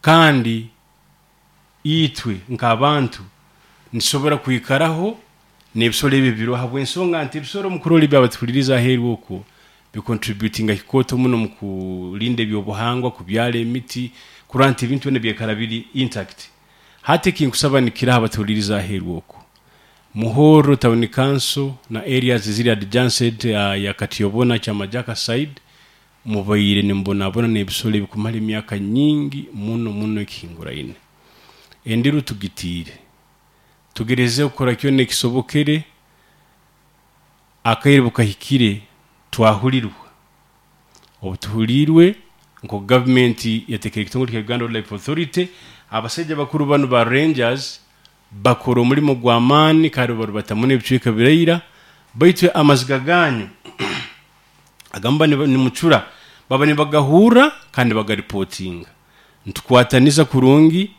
Kandi itwe nk'abantu nitusobora kwikaraho n'ebisoro ebi biroho, habw'ensonga nti ebisoro mukurora ebi abatuhuliriza aheeru okwo bicontributinga kikooto muno mu kulinda ebyobuhangwa, kubyara emiti, kurora nti ebintu byona byaikara biri intact. Hati ekinkusaba nikiraha abatuhuliriza aheeru okwo, Muhorro Town Council na areas eziri adjacent ya Katyobona, Kyamajaka side, mubaire nimubonabona n'ebisoro ebi kumara emyaka nyingi muno muno ekihinguraine. Endiru tugitiire. Tugerezeho kukora kyona ekisobokere, akaire bukahikire twahulirwa. Obu tuhuliirwe, nk'oku gavumenti yateekere ekitongole kya Uganda Wildlife Authority, abasaija bakuru banu ba Rangers bakora omulimo gw'amaani kandi barubata muno ebicweka biraira, baitu amaziga ganyu agamuba nimucura baba nibagahurra kandi nibagaripotinga. Nitukwataniza kurungi,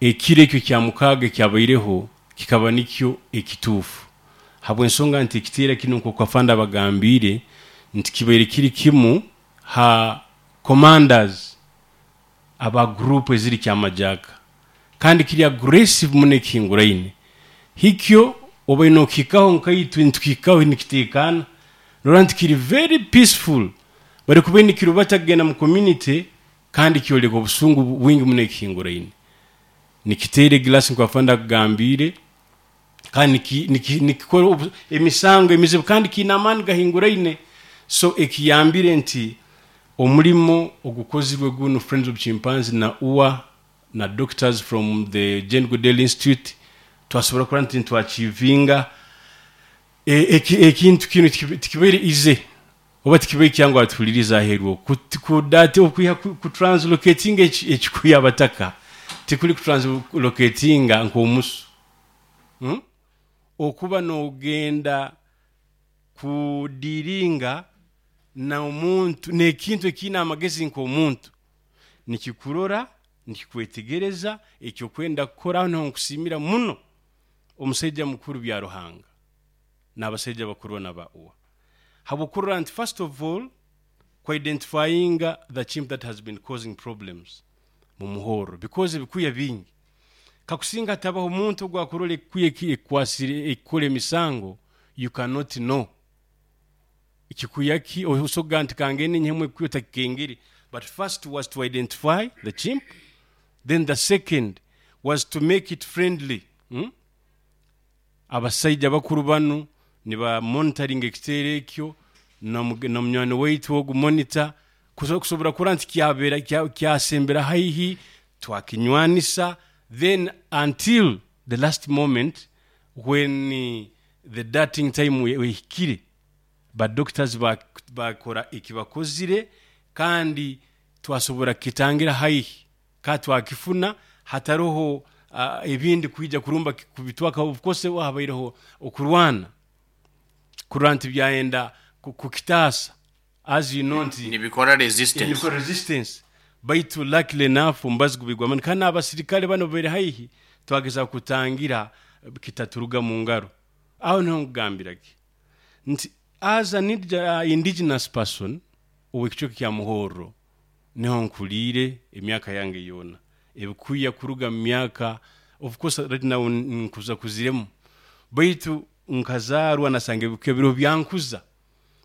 ekiro ekyo Kyamukaaga ekyabaireho kikaba nikyo ekituufu habw'ensonga nti ekiteera kinu nk'oku Afande abagambiire nti kibaire kiri kimu ha commanders aba guruupu eziri Kyamajaaka kandi kiri aggressive muno ekihinguraine. Hikyo obaire nokihikaho nkaitwe nitukihikaho nikiteekaana norora nti kiri very peaceful bari kubaire nikirubata kugenda mu community kandi kyoleka obusungu bwingi muno ekihinguraine. Nikiteera egilasi nkoku Afande akugambiire kandi nikikora emisango emizibu kandi kiine amaani gahinguraine. So ekiyambire nti omulimo ogukozirwe gunu Friends of Chimpanzee na UWA na doctors from the Jane Goodell Institute twasobora kurora nti nitwachievinga ekintu kinu tikibaire easy oba tikibaire kyangu atuhulirize aheeru oku kwiha kutranslocatinga ekikuya abataka tikuli kutranslocatinga nk'omusu. Okuba nogenda kudiiringa n'omuntu n'ekintu ekiine amagezi nk'omuntu, nikikurora, nikikwetegereza eki okwenda kukora. Aho niho nkusiimira muno omusaija mukuru Byaruhanga n'abasaija bakuru banu aba UWA habw'okurora nti first of all ku identifyinga the chimp that has been causing problems mu muhorro because ebikuya bingi. Kakusinga hatabaho omuntu ogu akurora ekikuya eki ekikwasire ekikora emisango, you cannot know kikuya ki, osobola kugamba nti kangende nyihemu ekikuya otakikengere. But first was to identify the chimp, then the second was to make it friendly. Abasaija bakuru banu niba monitoringa ekiteero ekyo na munywani waitu ogu monitor kusobora kurora nti kyabera kyasembera haihi twakinywanisa then until the last moment when the dating time ehikire ba doctors bakora ekibakozire kandi twasobora kukitangira haihi. Ka twakifuna hataroho ebindi kwija kurumba kubitwaka. Of course habaireho okurwana kurora nti byayenda kukitaasa as you know nti Nibikora resistance. Nibikora resistance baitu luckily enough omubazi gubaire gw'amaani kandi n'abasirikale banu babaire haihi twagezaho kutangira kitaturuga mu ngaro. Aho niho nkugambira ki nti as an indigenous person ow'ekicweka kya Muhorro, Niho nkuliire emyaka yange yoona. Ebikuya kuruga mu myaka, of course right now nkuza kuziremu, baitu nkazaarwa nasanga ebikuya biroho byankuza.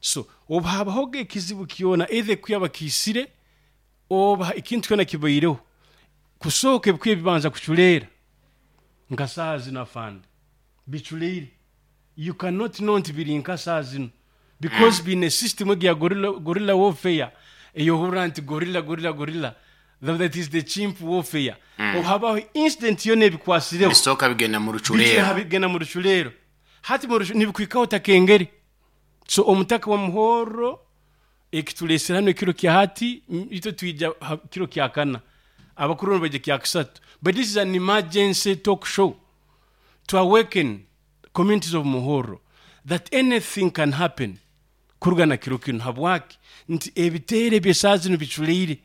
So obu habahoga ekizibu kyona either ekuya bakiisire oba ekintu kyona kibaireho, kusooka ebikuya bibanza kuculeera nka saaha zinu afande, biculeire. You cannot know nti biri nka saaha zinu because biine system egi ya gorilla, gorilla warfare eyohurra nti gorilla gorilla gorilla that is the chimp warfare. Obu habaho incident yoona ebikwasireho Bisooka bigenda mu rucureero. Bigenda mu rucureero. Hati mu nibikuhikaho otakengere. So omutaka wa Muhorro ekituleesere hanu ekiro kya hati, itwe twija ha kiro kya kana, abakuru banu baija kya kasatu. But this is an emergency talk show to awaken communities of Muhorro that anything can happen kuruga na kiro kinu. Habwaki? Nti ebiteero eby'esaaha zinu biculeire,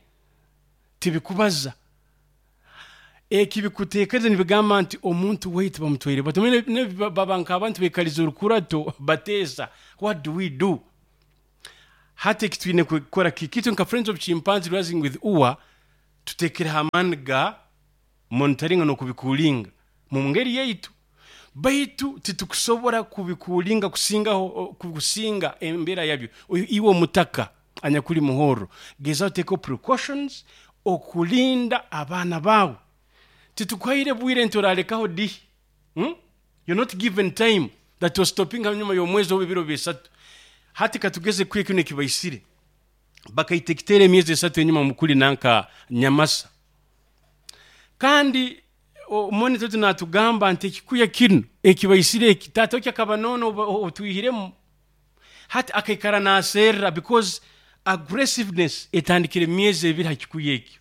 tibikubaza. Eki bikuteekereza nibigamba nti omuntu waitu bamutwaire bata. Omanyire baba nk'abantu baikalize orukurato bateesa, what do we do? Hati eki twine kukora kiki? Itwe nka Friends of Chimpanzee Rising with UWA, Tuteekereho amaani ga monitoringa n'okubikuulinga mu ngeri yaitu, baitu titukusobora kubikuulinga kusingaho kusinga embeera yabyo. Iwe omutaka anyakuli Muhorro, gezaho oteekeho precautions okulinda abaana baawe. Titukuhaire bwire nti oralekaho dihi. You're not given time that ostopinga hanyuma y'omwezi oba ebiro bisatu. Hati katugeze kwiha kinu ekibaisire. Bakaita ekiteero emyezi esatu enyuma mukuli nanka Nyamasa. Kandi monitor waitu natugamba nti ekikuya kinu ekibaisire eki taata wekyo akaba noona otwihiremu. Hati akaikara naserra because aggressiveness etandikire emyezi ebiri ha kikuya ekyo.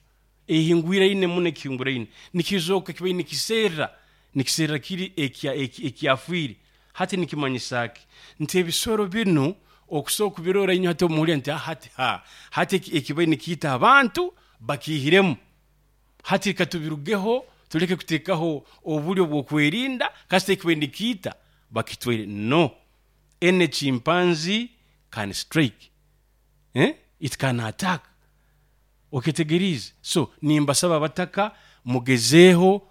Ehingwiraine muno ekihinguraine. Nikizooka kibaire nikiserra, nikiserra kiri ekyafiire. Hati nikimanyisa ki? Nti ebisoro binu okusobora kubirora inywe hati obu muhurira nti hati ha, hati ekibaire nikiita abantu bakiihiremu. Hati leka tubirugeho tuleke kuteekaho obulyo bw'okwerinda kasita ekibaire nikiita bakitwaire. No, any chimpanzee can strike, eh, it can attack. Oketegeriize? So nimbasaba abataka mugezeeho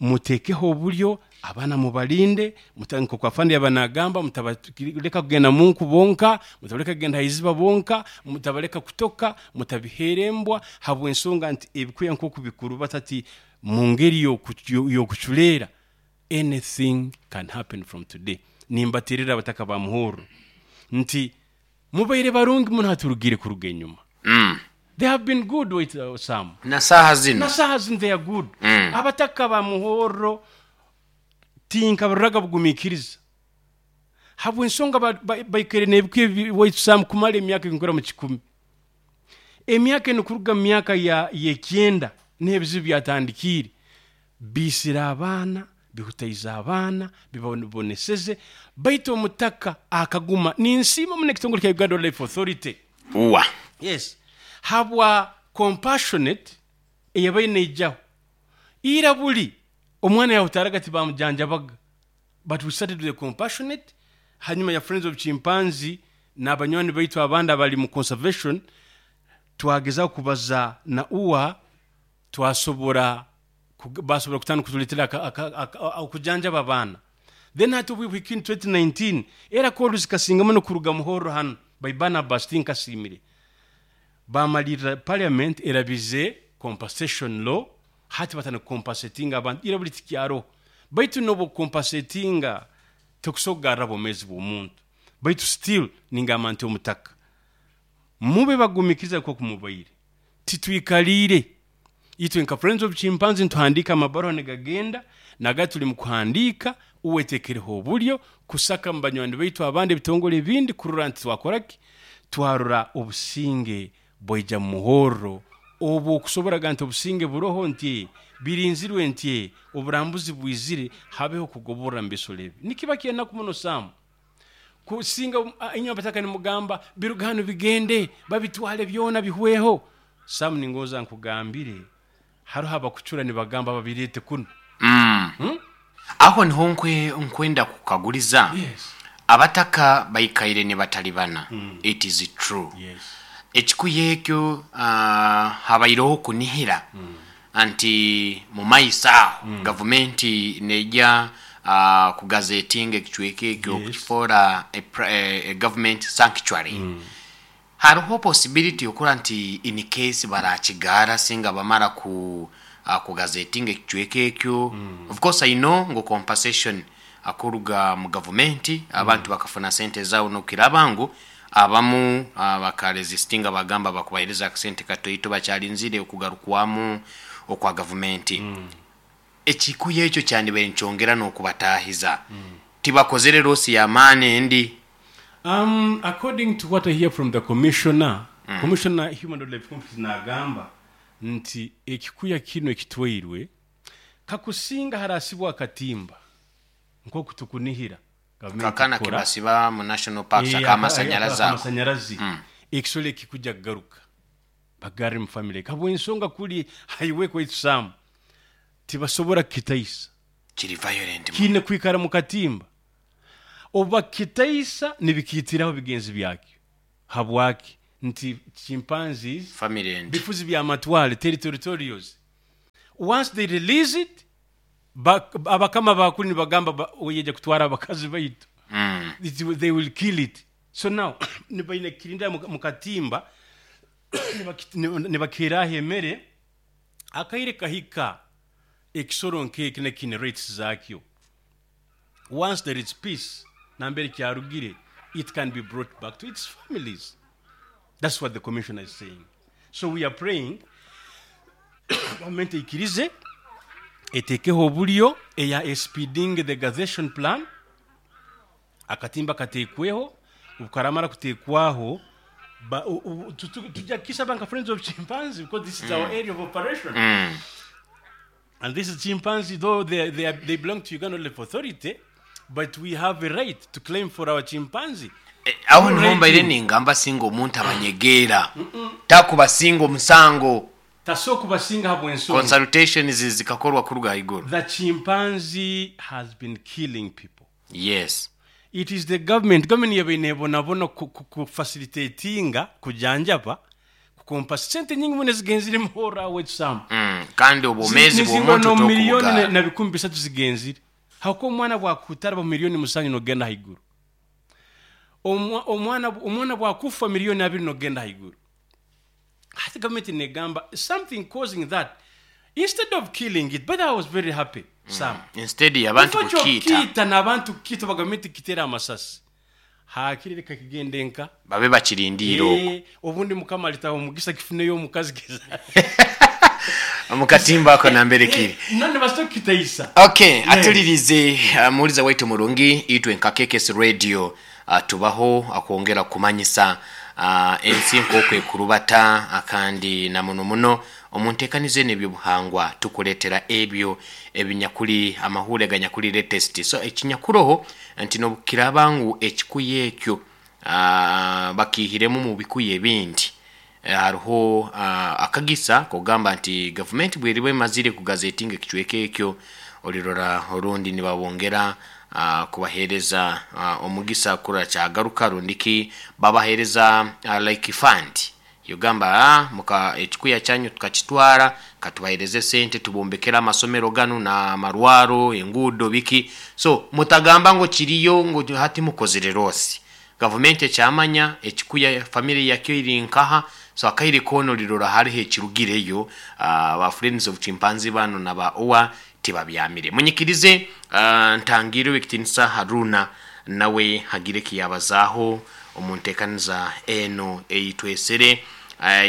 muteekeho obulyo abaana mubalinde, nk'oku afande yaaba naagamba mutabaleka kugenda mu nku bonka, mutabaleka kugenda ha iziba bonka, mutabaleka kutoka, mutabiheera embwa habw'ensonga nti ebikuya nk'oku bikurubata hati mu ngeri y'okuculeera, anything can happen from today. Nimbateererra abataka ba Muhorro nti mubaire barungi muno hati orugiire kuruga enyuma. They have been good wait Sam. Na saaha zinu. Na saaha zinu they are good. Abataka ba Muhorro tinkabaroraga bugumiikiriza habw'ensonga baikaire n'ebikuya ebi waitu Sam kumara emyaka enkura mu kikumi. Emyaka enu kuruga mu myaka y'ekyenda niho ebizibu byatandikiire. Biisire abaana, bihutaize abaana, bibaboneseze, baitu omutaka akaguma. Ninsiima muno ekitongole kya Uganda Wildlife Authority. Uwa. Yes. Habwa compassionate eyabaire neijaho. Ira buli omwana yahutaraga tibamujanjabaga but we started with a compassionate hanyuma ya Friends of Chimpanzee n'abanywani baitu abandi abali mu conservation twagezaho kubaza na UWA twasobora basobora kutandika kutuletera okujanjaba abaana. Then hati obu buhikire in 2019 era call zikasinga muno kuruga Muhorro hanu by Barnabas Tinkasiimire. Bamalirra parliament erabize compensation law hati batandika kucompensatinga abantu ira buli tikyaroho. Baitu nobu okucompensatinga tokusobora kugarra bwomezi bw'omuntu baitu still ningamba nti omutaka mube bagumikiriza nkoku mubaire. Titwikaliire. Itwe nka Friends of Chimpanzee nituhandiika amabaruha nigagenda, naga tuli mu kuhandiika, uwe etekereho obulyo kusaka mu banywani baitu abandi ebitongole ebindi kurora nti twakora ki? Twarora obusinge bwaija mu muhorro obu okusobora ga nti obusinge buroho nti birinzirwe nti oburambuzi bwizire habeho kugoborra mu bisoro ebi. Nikiba ky'enaku muno Sam. Kusinga inywe abataka nimugamba biruge hanu bigende babitwale byona bihweho. Sam ningonza nkugambire haroho abakucura nibagamba babireete kunu. Aho niho nkwenda kukaguliza, abataka baikaire nibatalibana, it is true. Ekikuya ekyo habaireho okunihira nti mumaiso aho gavumenti neija kugazetinga ekicweka ekyo kukifoora a government sanctuary. Hariho possibility okurora nti in case barakigaara singa bamara ku kugazetinga ekicweka ekyo. Of course I know ngu compensation kuruga mu gavumenti abantu bakafuna sente zaabo nokukiraba ngu abamu baka resistinga bagamba bakubahereza akasente katoito bakyarinzire okugarukwamu okwa gavumenti. Ekikuya ekyo kyandibaire nikyongera n'okubatahiza. Tibakozere loss y'amaani endi. According to what I hear from the commissioner, commissioner human wildlife conflict nagamba nti ekikuya kinu ekitwairwe kakusinga harasibwa akatimba nkoku tukunihira gavumenti Kakana kukora. kebasiba mu national parks ak'amasanyarazi ako. Akamasanyarazi ekisoro eki kikuja kugaruka bagarre mu family habw'ensonga kuli highway kwaitu Sam tibasobora kukitaisa. Kiri violent muno. Kiine kwikara mu katimba. Obu bakitaisa nibikiitiraho bigenzi byakyo. Habwaki? Nti chimpanzees Family and bifuzi byamatwale, territorials. Once they release it, abakama bakuru nibagamba oyeja kutwara abakazi baitu. They will kill it. So now nibaine kirinda mukatimba, nibakiraho emere, akaire kahika ekisoro nk'eki nekine rates zakyo. Once there is peace, nambere kyarugire, it can be brought back to its families. That's what the commissioner is saying. So we are praying government ikirize etekeho obulyo eya speeding the gazettation plan, akatimba katekweho, obukaramara kutekwaho, tujja kukisaba nka Friends of Chimpanzee, because this is our area of operation. And this is chimpanzee, though they belong to Uganda Wildlife Authority, but we have a right to claim for our chimpanzee. Aho niho mbaire ningamba singa omuntu abanyegeera takubasinga omusango. Tasobola kubasinga habw'ensonga. Consultations zikakorwa kuruga haiguru. The chimpanzee has been killing people. Yes. It is the government. Government yabaire nebonabona ku facilitatinga kujanjaba kukompa sente nyingi muno zigenzire muhora wetu. Kandi obwomezi Nizingwa bw'omuntu no miliyoni tokubugara. na 3,000 zigenzire. Hako omwana bwakutara ba 7 miliyoni nogenda haiguru. Omwana bwakufa 2 miliyoni nogenda haiguru. Hati government negamba something causing that, instead of killing it. But I was very happy, Sam. Instead y'abantu Kifo kukiita. kyokkiita n'abantu kukita, bagavumenti kitera amasasi, hakiri reka kigende nka babe bakirindiire okwo. Obundi Mukama alitaho omugisa kifuneyo omukazi geza mukatimba ako nambere kiri. None basito kitaisa. Okay, atulirize, muwuliza waitu murungi, itwe nka KKS Radio, tubaho akwongera kumanyisa ensi nk'oku ekurubata, kandi na muno muno omunteekaniza eno ebyobuhangwa tukuleetera ebyo ebinyakuli amahure ganyakuli latest. So ekinyakuroho nti nobukiraba ngu ekikuya ekyo bakihiremu mu bikuya ebindi, hariho akagisa kugamba nti gavumenti bweriba emazire kugazetinga ekicweka ekyo, olirora orundi nibabongera kubahereza omugisa kurora kyagaruka, rundiki babahereza like fund yogamba, muka ekikuya kyanyu tukakitwara, katubahereze sente tubombekera amasomero ganu na amarwaro, enguudo, biki. So mutagamba ngo kiriyo ngo hati mukozere rosi. Gavumenti ekyamanya ekikuya family yakyo iri nkaha. So akaire kono lirora hariho ekirugireyo, ba Friends of Chimpanzee bano na ba owa tibabyamire. Munyikirize, ntangire ekitinisa Haruna nawe hagire kiyabazaaho omuntekaniza eno eyitwesere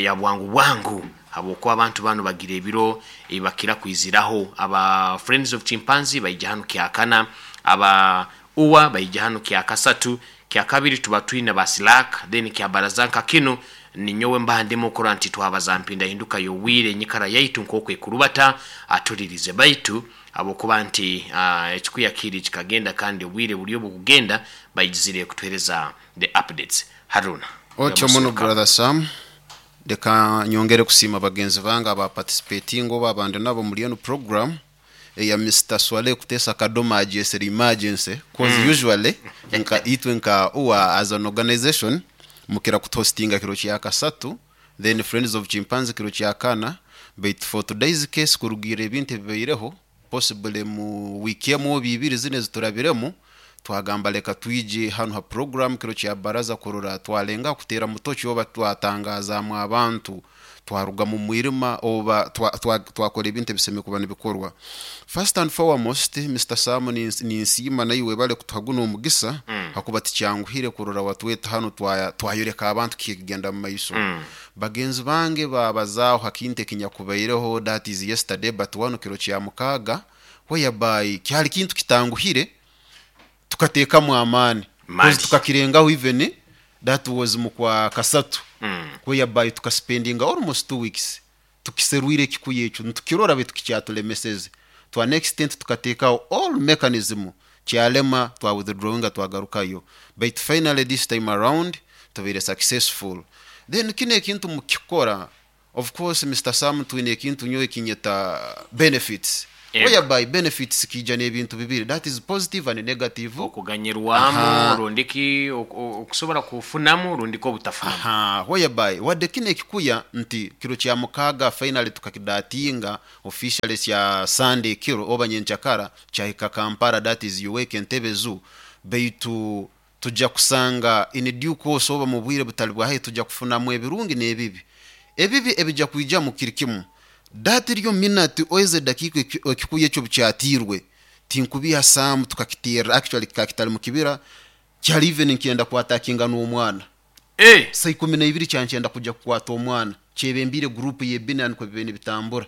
ya bwangu bwangu, habwokuba abantu bano bagira ebiro ebakira kwiziraho. Aba Friends of Chimpanzee baija hano kyakana, aba uwa baija hano kyakasatu, kyakabiri tuba twine ba slack, then kyabaraza nka kino ninyowe mbandemo okora nti twabaza mpinda hinduka yowire enyikara yaitu nk'oku ekurubata. Atulirize baitu habwokuba nti ekikuya kiri kikagenda, kandi obwire buri obukugenda baigizire kutuhereza the updates. Haruna. Otyo muno, brother Sam. Reka nyongere kusiima bagenzi bange aba participating oba abandi nabo muri eno program eya Mr Swale kutesa Kadoma ajesere emergency, cause usually nka itwe nka uwa as an organization mukira kuthostinga kiro kya kasatu, then Friends of Chimpanzee kiro kya kana. But for today's case, kurugira ebintu ebibaireho possibly mu wiki emu oba ibiri zine ziturabiremu, twagamba leka twije hano ha program kiro kya baraza kurora twalenga kutera mutoki oba twatangazamu abantu twaruga mu mwirima oba twakora ebintu ebiseme kuba nibikorwa. First and foremost, Mr Sam, ninsiima naiwe bale kutuha guno omugisa, hakuba tikyanguhire kurora watweta hano twayoreka abantu kigenda mu maiso. Bagenzi bange babazaaho hakintu ekinyakubaireho, that is yesterday, but wano kiro kya mukaaga, whereby kyali kintu kitanguhire, tukateekamu amaani. Mali. Cause tukakirengaho, even that was mu kwa kasatu, whereby tukaspendinga almost 2 weeks tukiserwire ekikuya ekyo nitukirora baitu kikyatulemeseze. To an extent tukateekaho all mechanism, kyalema, twa withdrawinga, twagarukayo, but finally this time around tubaire successful. Then kino ekintu mukikora, of course, Mr Sam, twine ekintu nyowe kinyeta benefits. Whereby benefits kiija n'ebintu bibiri, that is positive and negative. Okuganyirwamu rundiki okusobora kufunamu rundiki obutafunamu. Aha, whereby wadde kinu ekikuya nti kiro kya mukaaga finally tukakidatinga officially kya Sunday ekiro oba nyenkyakara kyahika Kampala, that is UWEC Entebbe Zoo, baitu tujja kusanga in due course oba mu bwire butali bwa haihi tujja kufunamu ebirungi n'ebibi. Ebibi ebijja kwijamu kiri kimu, that ryo minute ezi edakiika ekikuya ekyo obukyatiirwe, tinkubiiha Sam tukakiterra, actually kikaba kitali mu kibira, kyali even nikyenda kwatakinga n'omwana. Saa 12 kyali nikyenda kujja kukwata omwana, kyebembiire group y'ebina nukwo bibaire nibitambura.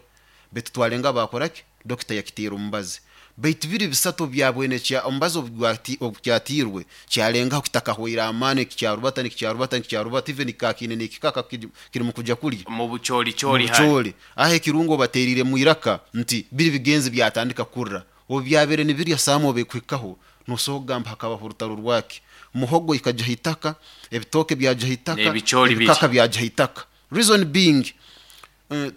Baitu twalenga baakora ki? Dokita yakiteera omubazi. Baitu biri bisatu obu byabwene kya omubazi obu obu kyatiirwe, kyalengaho kitakahwaire amaani nikikyarubata, nikikyarubata, nikikyarubata even kikaba kiine n'ekikaka kirimu kugya kulya. Mu bucoolicooli Mu bucooli. Aho ekirungo obateeriiremu iraka nti biri bigenzi byatandika kurra. Obu byabaire nibirya Sam obu ekuhikaho, noosobora kugamba hakabaho orutaro rwaki. Muhogo ikagya ha itaka, ebitooke byagya ha itaka, N'ebicooli biri. ebikaka byagya ha itaka. Reason being,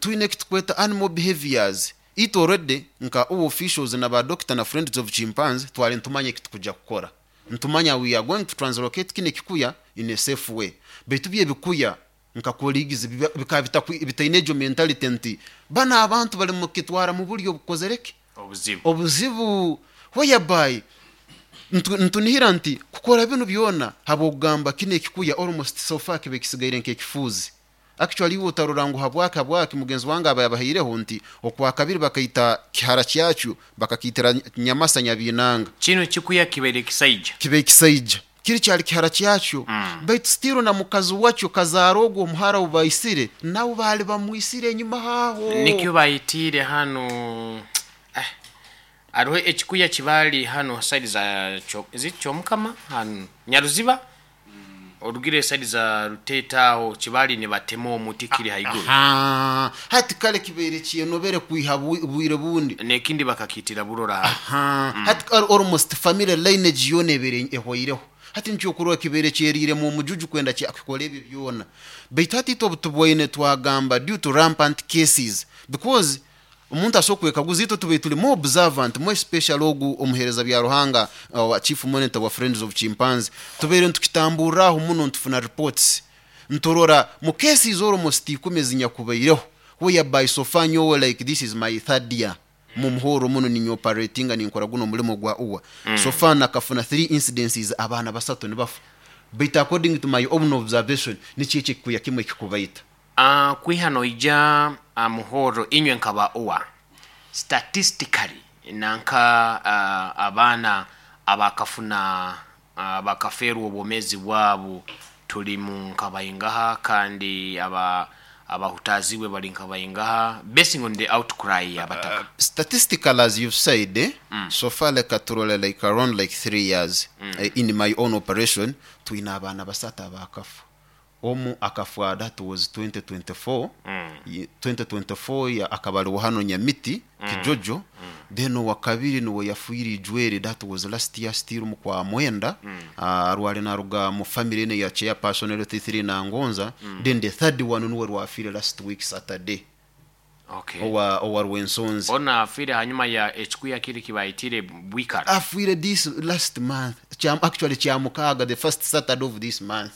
twine eki tukweta animal behaviors. Itwe already nka UWA officials na ba doctor na friends of chimpanzee twali nitumanya eki tukugya kukora. Nitumanya we are going to translocate kinu ekikuya in a safe way. Baitu byo ebikuya nka colleagues bikaba bitaine egyo mentality nti banu abantu bali mukitwara mu buryo obukozere ki? Obuzibu. Obuzibu. Whereby nitunihira nti kukora binu byona habw'okugamba kinu ekikuya almost so far kibe kisigaire nk'ekifuuzi. Actually iwe otarora ngu habwaki habwaki mugenzi wange aba yabahaireho nti okwakabiri bakaita kihara kyakyo bakakiitira Nyamasa Nyabiinanga. Kinu kikuya kibaire kisaija. Kibaire kisaija. Kiri kyali kihara kyakyo. Baitu still na mukazi wakyo kazaara ogwo omuhara ou baisire nawe baali bamwisire enyuma aho. Nikyo baitiire hanu eh haroho ekikuya kibaali hanu side za is it Kyomukama hanu Nyaruziba? Orugire side za Ruteete aho kibaali nibatema omuti kiri haiguru. Ahaa, hati kale kibaire kyenobere kwiha bwire bundi. N'ekindi bakakiitira burora hati. Ahaa, hati kale almost family lineage yoona ebaire ehwaireho. Hati nikyo okurora kibaire kyeriiremu omujuju kwenda kikore ebyo byona. Baitu hati itwe obutubwaine twagamba due to rampant cases because Omuntu asobora kwekaguza, itwe tubaire turi more observant, more especially ogu omuhereza bya Ruhanga owa Chief Monitor wa Friends of Chimpanzee, tubaire nitukitamburra aho muno nitufuna reports, niturora mu cases almost ikumi ezinyakubaireho whereby so far nyowe like this is my third year mumuhorro muno ninye operatinga ninkora guno omulimo gwa UWA, so far nakafuna 3 incidences abaana basatu nibafa, baitu according to my own observation nikyo ekyo ekikuya kimwe ekikubaita. Kwiha noija muhorro inywe nka ba UWA, statistically nanka abaana abakafuna abakafeerwa obwomeezi bwabu tuli mu nka baingaha kandi abahutaazibwe bali nka baingaha basing on the outcry y'abataka? Statistically as you've said, so far leka turole like around like 3 years in my own operation twine abaana basatu abakafa. Omu akafwa that was 2024, 2024 akaba ari hano Nyamiti Kijojo, then owakabiri niwe yafiire Ijwere, that was last year still mu kwa mwenda, arware naruga mu family eno ya chairperson LT3 Nangonza, then the third one niwe rwafiire last week Saturday. Okay. Owa Rwensonzi. Onu afiire hanyuma ya ekikuya kiri kibayitire Bwikara. Afiire this last month, actually Kyamukaaga, the first Saturday of this month.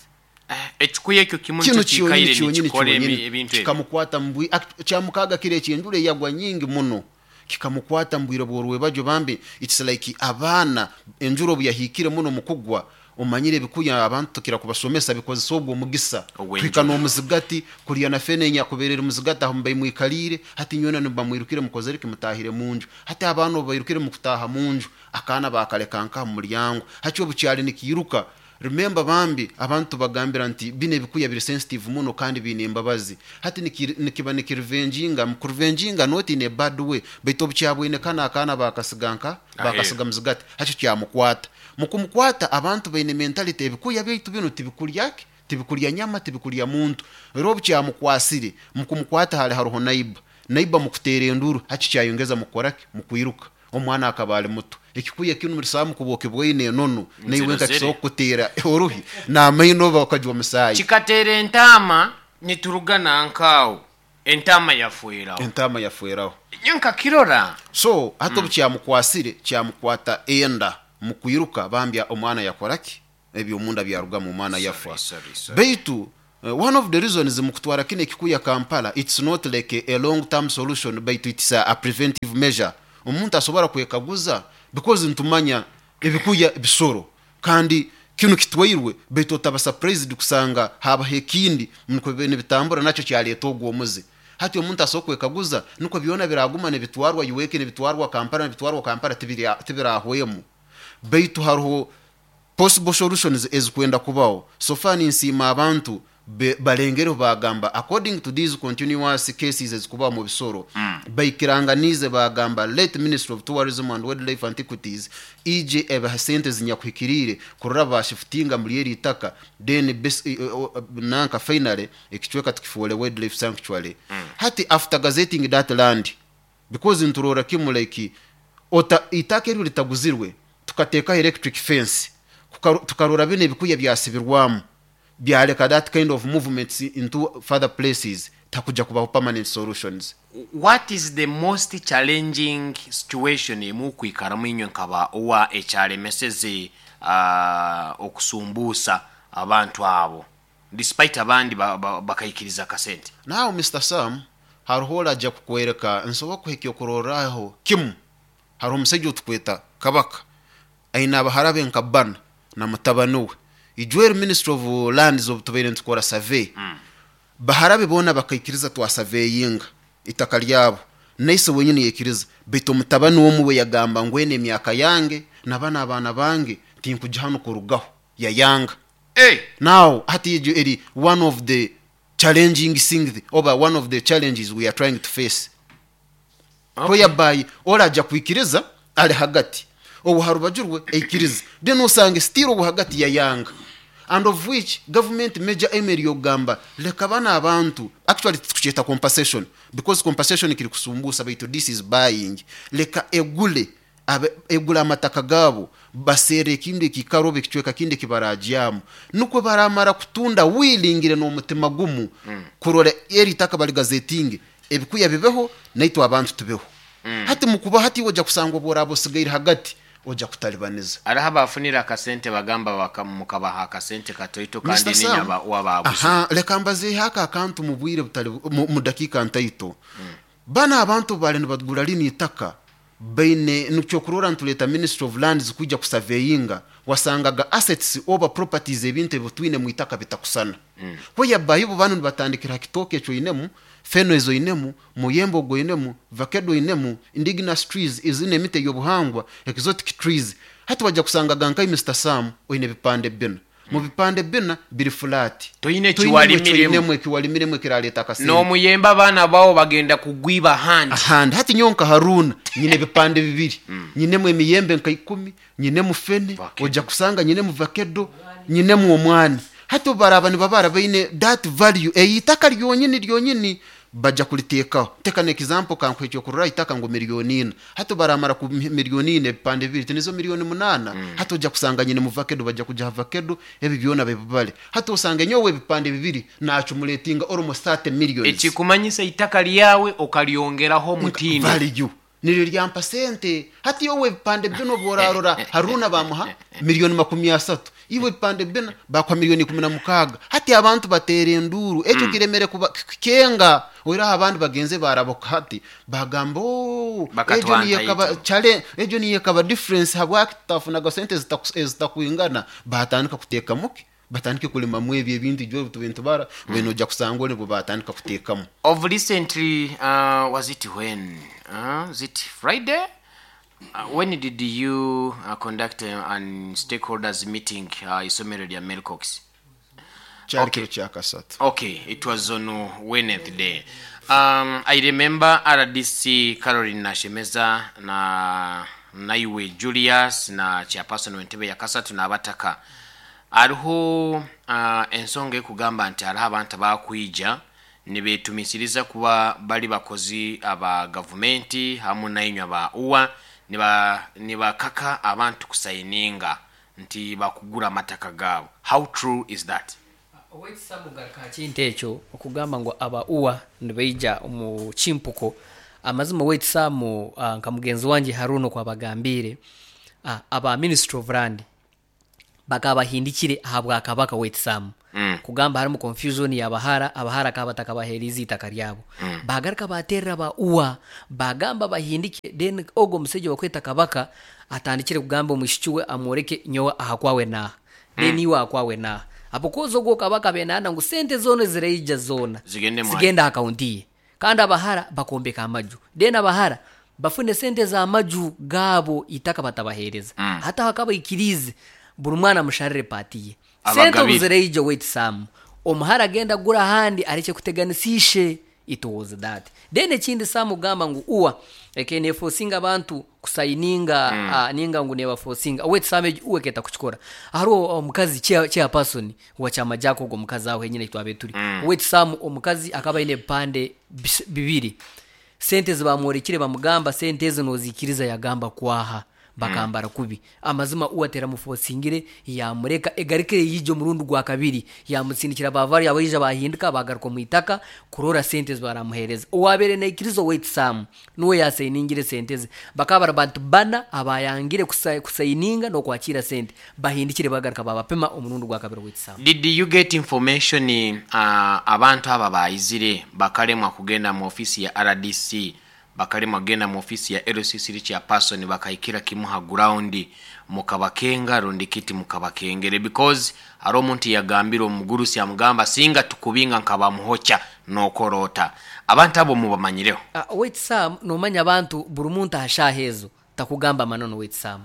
Ekikuya ekyo kimu Kinu nikyo kyonyini kiikaire kyonyini nikikora kyonyini ebintu ebi. Kikamukwata mu Kyamukaaga kiro eki enjura eyagwa nyingi muno kikamukwata mu bwire bw'orwebagyo bambi. It's like abaana enjura obu yahiikire muno mu kugwa, omanyire ebikuya abantu tukira kubasomesa bikozesa ogwo omugisa Ogw'enjura. Kuhika n'omuzigati kuriya na fene enyakubaire eri muzigati aho mubaimwikalire hati nywena nibamwirukire mukozere ki mutahire munju. Hati abaana obu bairukire mukutaha munju, akaana bakaleka nkaha mu mulyango. Hati obu kyali nikiiruka, remember bambi abantu tubagambira nti binu ebikuya biri sensitive muno kandi biine embabazi. Hati nikiba nikirevenginga, mukurevenginga not in a bad way, baitu obu kyabwine kanu akaana bakasiga nka Aheeru. Bakasiga muzigati, hati kyamukwata. Mukumukwata abantu baine mentality ebikuya byaitu binu tibikulya ki? Tibikulya nyama, tibikulya muntu. Rero obu kyamukwasire, mukumukwata hali haroho neighbor. Neighbor mukuteera enduru, hati kyayongeza mukukora ki? Mukwiruka. Omwana akaba ali muto. Ekikuya kinu murisaamu kuba okibwaine enono, naiwe Nzirozere. nkakisobola kukuteera oruhi n'amaino oba okajwa omusaayi. Kikateera entaama nituruga nanka aho. Entaama yafweraho. Entaama yafweraho. Nyowe nkakirora. So hati obu kyamukwasire, kyamukwata enda mu kwiruka, bambi omwana yakora ki? Eby'omunda byarugamu, omwana yafa. Sorry, sorry, sorry. Baitu one of the reasons mukutwara kinu ekikuya Kampala, it's not like a long term solution, baitu it's a preventive measure. Omuntu asobora kwekaguza because nitumanya ebikuya bisoro kandi kinu kitwairwe, baitu otaba surprised kusanga habaho ekindi nukwo bibe nibitambura nakyo kyaleeta ogu omuze. Hati omuntu asobora kwekaguza nukwo byona biraguma nibitwarwa Uweke, nibitwarwa Kampala, nibitwarwa Kampala, tibirahwemu. Baitu haroho possible solutions ezikwenda kubaho. So far ninsiima abantu balengereho bagamba according to these continuous cases ezikubaho mu bisoro, baikiranganiize bagamba let Ministry of Tourism and Wildlife Antiquities ije ebahe sente zinyakuhikiriire kurora bashifutinga muli eri itaka, then nanka finally ekicweka tukifuule wildlife sanctuary. Hati after gazetting that land, because niturora kimu like ota itaka eryo litaguzirwe tukateekaho electric fence, tukarora binu ebikuya byasibirwamu byaleka that kind of movements into further places, tihakuja kubaho permanent solutions. What is the most challenging situation emukwikaramu inywe nkaba owa ekyalemeseze okusumbuusa abantu abo despite abandi bakaikiriza akasente? Now Mister Sam, haroho oraja kukwereka, nsobora kukuha ekyokurorraho kimu. Haroho omusaija otukweta Kabaka, aine abahara be nka bbana na mutabani we. Ijweri Ministry of Lands obu tubaire nitukora survey, bahara be boona bakaikiriza twasaveyinga itaka lyabo, na ise wenyini yaikiriza, baitu omutabani omu we yagamba ngu enu emyaka yange na banu abaana bange tinkugya hanu kurugaho, yayanga. Now hati egyo eri one of the challenging things oba one of the challenges we are trying to face. Whereby oraja kwikiriza ari hagati, owu harubaju rwe aikirize, then osange still owu hagati yayanga. And of which government major aim eri yokugamba leka banu abantu, actually titukukyeta compensation because compensation kiri kusumbuusa baitu this is buying, leka egule egule amataka gaabo baserre ekindi ekiikaro oba ekicweka kindi eki baraagyamu nukwo baramara kutunda willingly n'omutima gumu kurora eri itaka baligazetinge ebikuya bibeho naitwe abantu tubeho. Hati mukuba hati iwe oja kusanga obu oraaba osigaire hagati oja kutalibaniza. Haroho abaafunire akasente bagamba mukabaha akasente katoito kandi Mister niinywe Sam, owabaaguze. aha, leka mbazeeho ako akantu mu bwire butali mu dakiika ntaito. Banu abantu obu baali nibagura linu itaka baine nikyokurorra nituleeta Ministry of Lands kwija kusaveyinga, wasangaga assets oba properties ebintu ebi twine mu itaka bitakusana. Whereby bo banu nibatandikira ha kitooke eki oinemu, feno ezi oinemu, muyembe ogu oinemu, vakedo oinemu, indigenous trees ezine emiti ey'obuhangwa, exotic trees. Hati waija kusangaga nkai Mister Sam oine ebipande bbina. Mu bipande bbina biri flat. Toine Toinemu eki ekiwalimiremu. oinemu ekiwalimiremu ekiraleeta akasente. N'omuyembe abaana bawe bagenda kugwiba ahandi. Ahandi. Hati nyowe nka Haruna nyine ebipande bibiri. Nyinemu emiyembe nka ikumi, nyinemu fene, Vakedo. oja kusanga nyinemu vakedo, nyinemu omwani. Hati obu baraaba nibabara baine that value ey'itaka ryonyini ryonyini baja kuliteekaho. Teka n'example kankuhe ekyokurorraho itaka ngu milioni ina. Hati obu baramara ku milioni ina ebipande bibiri tinizo milioni munaana? Hati oja kusanga nyinemu vakedo baja kugiha vakedo ebi byona babibale. Hati osange nyowe ebipande bibiri naacumulatinga almost 30 millions. Ekikumanyisa itaka lyawe okalyongeraho omutindo. Value niryo ryampa sente. Hati yowe ebipande bina obu orarora Haruna bamuha milioni makumi asatu, iwe ebipande bina bakuha milioni ikumi na mukaaga. Hati abantu bateera enduuru, ekyo kiremere kuba kukenga. Oihireho abandi bagenze baarabuka hati bagamba ooh, egyo niyo ekaba Bakatwanta chale, egyo niyo ekaba difference habwaki tutafunaga sente ezitakwingana. Baatandika kuteekamu ki? Batandike kulimamu ebyo ebintu ijwe obu tubaire nitubara, mbwenu noija kusanga ori nibwo baatandika kuteekamu. Of recently, was it when? Is it Friday? When did you conduct an stakeholders meeting isomero lya Melcox? Kyali Okay. kiro kya kasatu. Okay, it was on Wednesday. I remember RDC Caroline Nashemeza na naiwe Julius na chairperson w'entebe ya kasatu n'abataka. Hariho ensonga ekugamba nti hariho abantu abakwija nibetumisiriza kuba bali bakozi aba gavumenti hamu nainywe aba UWA nibakaka abantu kusayininga nti bakugura amataka gaabo. How true is that? Owekisa mugaruka ha kintu ekyo okugamba ngu aba UWA nibaija omu kimpuko. Amazima owekisa mu nka mugenzi wangye Haruna oku abagambiire, aba Ministry of Land bakaba bahindikire aha bwa Kabaka owekisaamu kugamba harimu confusion y'abahara, abahara akaba batakabaheeriize eitaka ryabo. Baagaruka baateerera aba UWA baagamba bahindike then ogwo omusaija owarikweta Kabaka atandikire kugamba omwishiki we amworeke nyowe aha kwawe naaha. Then iwe akwawe naaha. Ahabw'okuba ogwo kabaka abaire naayenda ngu sente zoona eziraija zoona Zigende mwayo. zigende aha akawunti ye. Kandi abahara bakombeka amaju. Then abahara bafune sente z'amaju gaabo eitaka batabaheereza. Hati aho akaba aikiriize buri mwana amusharire paati ye. Sente obu Abagabire. ziraija owaitu Sam, omuhara agende agure ahandi arekye kuteganisa ishe. It was that. Then ekindi Sam kugamba ngu ua eke nefosinga abantu kusayininga ninga ngu nebafosinga oweitu Sam egyo ua eketa kukikora. Hariho omukazi chair person wa kyama Jack ogwo omukazi aho henyine ahi twabaire turi. Oweitu Sam omukazi akaba ayine ebipande bibiri. Sente ezibamworekire bamugamba sente ezi nozikiriza yagamba kwaha. Bakambara kubi. Amazima u ateramufosingire yamureka egarukire yaija omurundi gwa kabiri yamutsindikira ba value abaija bahindika bagaruka omu itaka kurora sente ezi baramuhereza. Owabaire naikiriza owaitu Sam nuwe yasainingire sente ze. Bakaba bari bantu bana abayangire kusaininga nokwakiira sente bahindikire bagaruka babapima omurundi gwa kabiri owaitu Sam. Did you get information abantu abo abaizire bakaremwa kugenda mu office ya rdc bakaremwa kugenda mu office ya LC3 chairperson bakahikira kimu ha ground mukabakenga rundi kiti mukabakengere because hariho omuntu yagambire omugurusi amugamba singa tukubinga nkabamuhocha nokorota abantu abo mubamanyireho. Owaitu Sam nomanya abantu buri muntu aha shaaha ezo takugamba amananu owaitu Sam.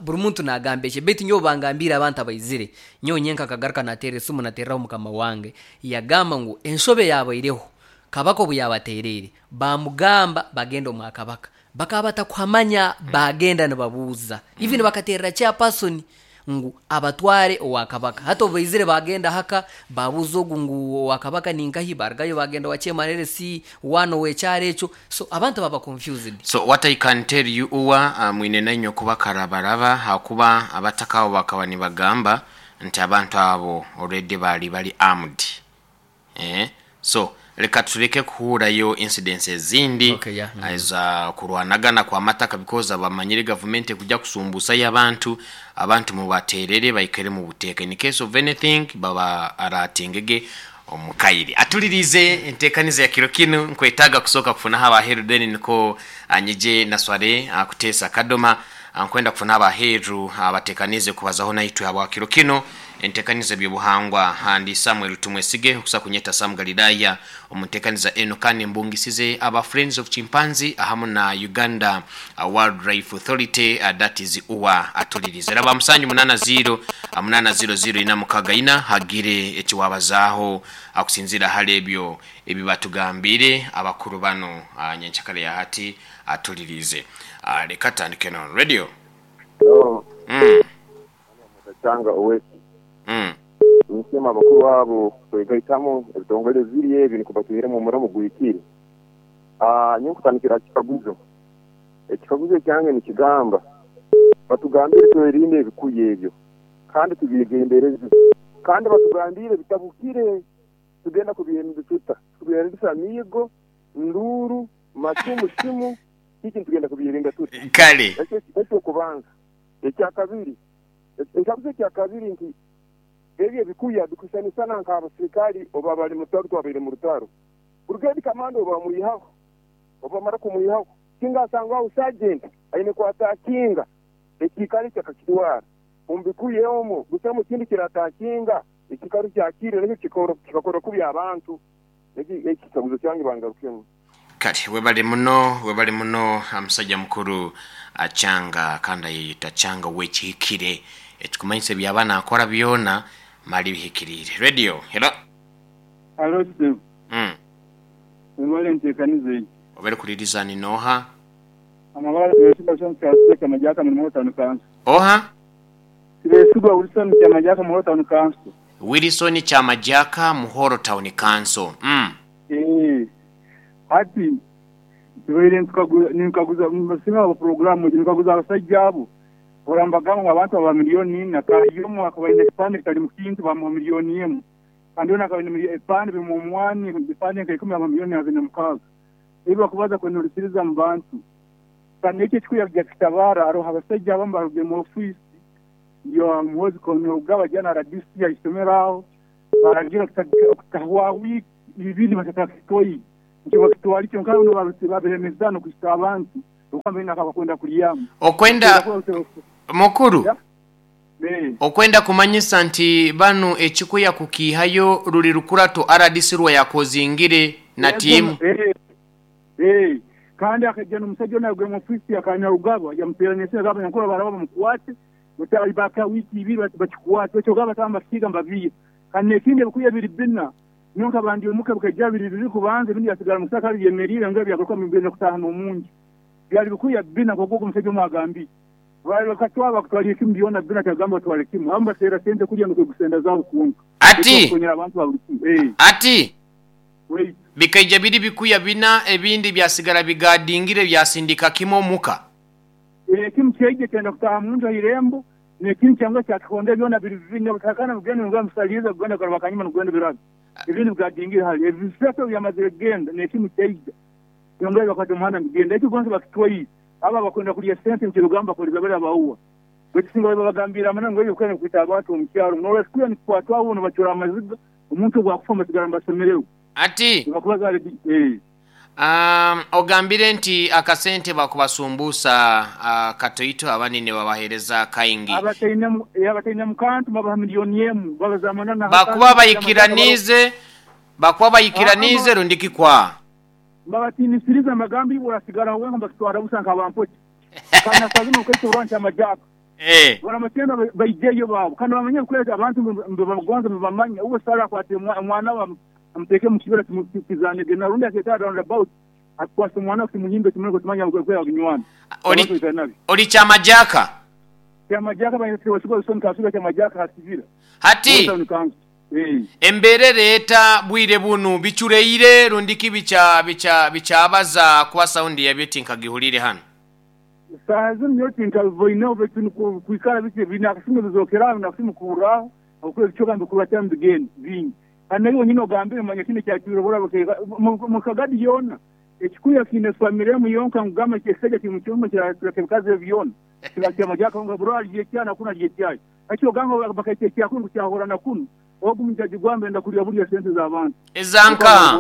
Buri muntu nagamba ekye beitu nyowe bangambiire abantu abaizire nyowe nyenka nkagaruka nateera esimu nateereraho mukama wange yagamba ngu enshobe yabaireho Kabaka obu yabateereire baamugamba bagende omwa Kabaka bakaba batakuhamanya baagenda nibabuuza even bakateerera chairperson ngu abatware owa Kabaka. Hati obu baizire baagenda haka baabuuza ogu ngu owa Kabaka ni nkahi baarugayo baagenda owa chairman LC one ow'ekyaro ekyo so abantu baaba confused. So what I can tell you uwa mwine nainywe kuba karabaraba hakuba abataka abo bakaba nibagamba nti abantu abo already bali bari armed. Eeh so leka tuleke kuhurayo incidents ezindi Okay, yeah. eza kurwanagana kwa mataka because abamanyire gavumenti ekuja kusumbusayo abantu, abantu mubaterere baikare mubuteeka in case of anything baba aratingege omukaire. Atulirize entekaniza ya kiro kinu nkwetaaga kusooka kufunaho abaheru then niko nyije nasware kuteesa Kadoma nkwenda kufunaho abaheru abatekanize kubazaho naitwe habwa kiro kinu. Entekaniza eby'obuhangwa handi Samuel Tumwesige okusa kunyeta Sam Galilaya omu ntekaniza eno kandi mbungisize aba Friends of Chimpanzee ahamu na Uganda Wildlife Authority that is UWA atulirize. Raba musanju munana ziro munana ziro ziro ina mukaga ina hagire ekiwabazaaho akusinzira hali ebyo ebibatugambire abakuru bano nyenkyakare ya hati atulirize. Leka tutandike no radio. Hello. Kyanga Owek. Ninsiima abakuru abo kwegaitamu ebitongole bibiri ebi nikwo batwihiremu omurimo oguhikire. Nyowe nkutandikira aha kikaguzo. Ekikaguzo ekyange nikigamba, batugambire twerinde ebikuya ebyo kandi tubyegendereze. Kandi batugambire bitabukire, tugenda kubyerinda tuta? Tukubyerindisa amiigo, nduuru, macumu, simu, kiki nitugenda kubyerinda tuta? Kale. Ekyo eky'okubanza. Ekyakabiri, Ekikaguzo ekyakabiri nti, Ebyo ebikuya bikusanisana nk'abasirikali obu baba bali mu rutaro twabaire mu rutaro. Brigade commander obu bamwihaho, obu bamara kumwihaho, singa asangwaho sergeant aine kwatakinga ekiikaro eki akakitwara. Omu bikuya omwo busamu kindi kiratakinga ekiikaro kyakire nakyo kikakora kubi abantu. Eki ekikaguzo kyange bangarukemu. Kale webale muno webale muno musaija mukuru Changa kandi ayeyeta Changa owekihikire ekikumanyisa ebyaba nakora byona mali bihikiriire. Radio hello. Halo ssebo. Webale entekaniza egi. Webale kuliriza ni noha? Amabara Tibesigwa Wilson Kyazze Kyamajaka muri Muhoro Town Council. Oha? Tibesigwa Wilson Kyamajaka Muhoro Town Council. Wilson Kyamajaka Muhoro Town Council. Eeh hati tubaire ninkaguza nimbasiima ahabwa puroguraamu egi ninkaguza abasaija abo hora nibagamba ngu abantu babaha miliyooni ina kaahi omu akaba aine ekipande kitarimu kintu bamuha miliyooni emu. Kandi yona akaba aine ebipande birimu omwani, ebipande nka ikumi aba 26,000,000. Ebi bakubaza kwenulisiriza mu bantu. Kandi ekyo ekikuya kija kitabaara, haroho abasaija abamu barugire mu ofiisi ya Muhoozi Kainerugaba ajya na RDC ha isomero aho, baragira okutahwaho wiiki ibiri batakakitwaire. Nikyo bakitwara kyonka banu babiremesa n'okuhisa abantu okuba baine akabakwenda kulyamu. Okwenda mukuru okwenda kumanyisa nti banu ekikuya kukiihayo ruli rukurato RDC rwayakozingire na tiimu. Kandi akaija n'omusaija onu arugire mu ofiisi ya Kainerugaba yamuteerana esimu yagamba abanyankore baraba bamukwate baka wiiki ibiri bakikwate baitu ogamba bataba nibakihiiga nibabiiha. Kandi n'ekindi ebikuya biri bina. Nyowe nkaba ndi omuka bikaija biri bibiri kubanza, ebindi byasigara omu kisaka byemeriire ngu byagaruka nibigenda kutaaha n'omunju. Byali bikuya bbina nk'oku ogu omusaija omu agambire. Baali bakatwara bakutwalire kimu byona bbina tagamba batwale kimu. Abamu baserra sente kulya n'okwegusenda enda zaabo kwonka. Baitu Ati, bakukonyera abantu ba buli kimu. Ee, ati, waitu. Bikaija biri bikuya bina ebindi byasigara bigaadingire byasindika kimu omuka. Ee, kimu kyaija kyenda kutaaha munju ha irembo, n'ekindi kyanguha kyakihonda byona biri bibiri. Nabwo nibugenda nibugenda nibusaliiriza kugenda kugaruka akanyuma nibugenda birabe. Ebindi bikadingira hali ebi bisatu obu byamazire kugenda, n'ekimu kyaija. Byongera byakwata omuhanda nibigenda. Eki gonze bakitwaire. Abo abakwenda kulya sente nikyo bigamba bakoliza bali abauwa. Baitu singa bali babagambiire amananu ngu ebi ebikwenda nikwita abantu omu kyaro, norora ekikuya nikikwatwaho bo nibacura amaziga, omuntu obu akufa nibasigara nibasemererwa. Ati, Nibakubaza hali eh. Ogambire nti akasente bakubasumbuusa katoito abandi nibabaheereza kaingi. Abataine mukantu babaha 1,000,000 babaza amananu Bakuba baikiraniize, bakuba baikiraniize rundi kikwa. Mbabatiinisiriza mbagamba iwe orasigaraho wenka mbakitwara busa nk'abampoki. Kandi na saaha zinu okaita orwa nti amajaaka. Baramatenda baijeyo baabo kandi bamanye ngu abantu nibabagonza nibabamanya. Uwe Sara akwatire omwana we amuteeke omu kibira kizanege na rundi akeeta round about akwase omwana we kimuhimbe kimureke tumanya ngu aginywana. Abantu baikara nabi. Oli Kyamajaka? Kyamajaka banyina Kyamajaka ha kibira. Hati embeera ereeta bwire bunu bicureire rundiki bicha bicha bichabaza kuba saundi yabyo tinkagihuriire hanu. Saaha zinu nyowe tinkabiboineho baitu nukwo kwikara biti biine akasumi bizookeraho nakasumi kuhurraho habwokuba ebicweka nibikuratira nibigenda bingi. Kandi naiwe wenyini ogambire manya kinu ekyacwire oburabo mu Kagadi yoona ekikuya kiine famire emu yonka ngu gamba ekisajja kiri mu kyoma kiraka ebikazi ebi byona kiba kyamagye akahunga buri alya ekyaha na kunu alya ekyaha. Hati ogamba bakaita ekyaha kunu ngu kyahura na kunu ogu mujaji gwamba enda kulya bulya sente z'abantu. Eza nkaha?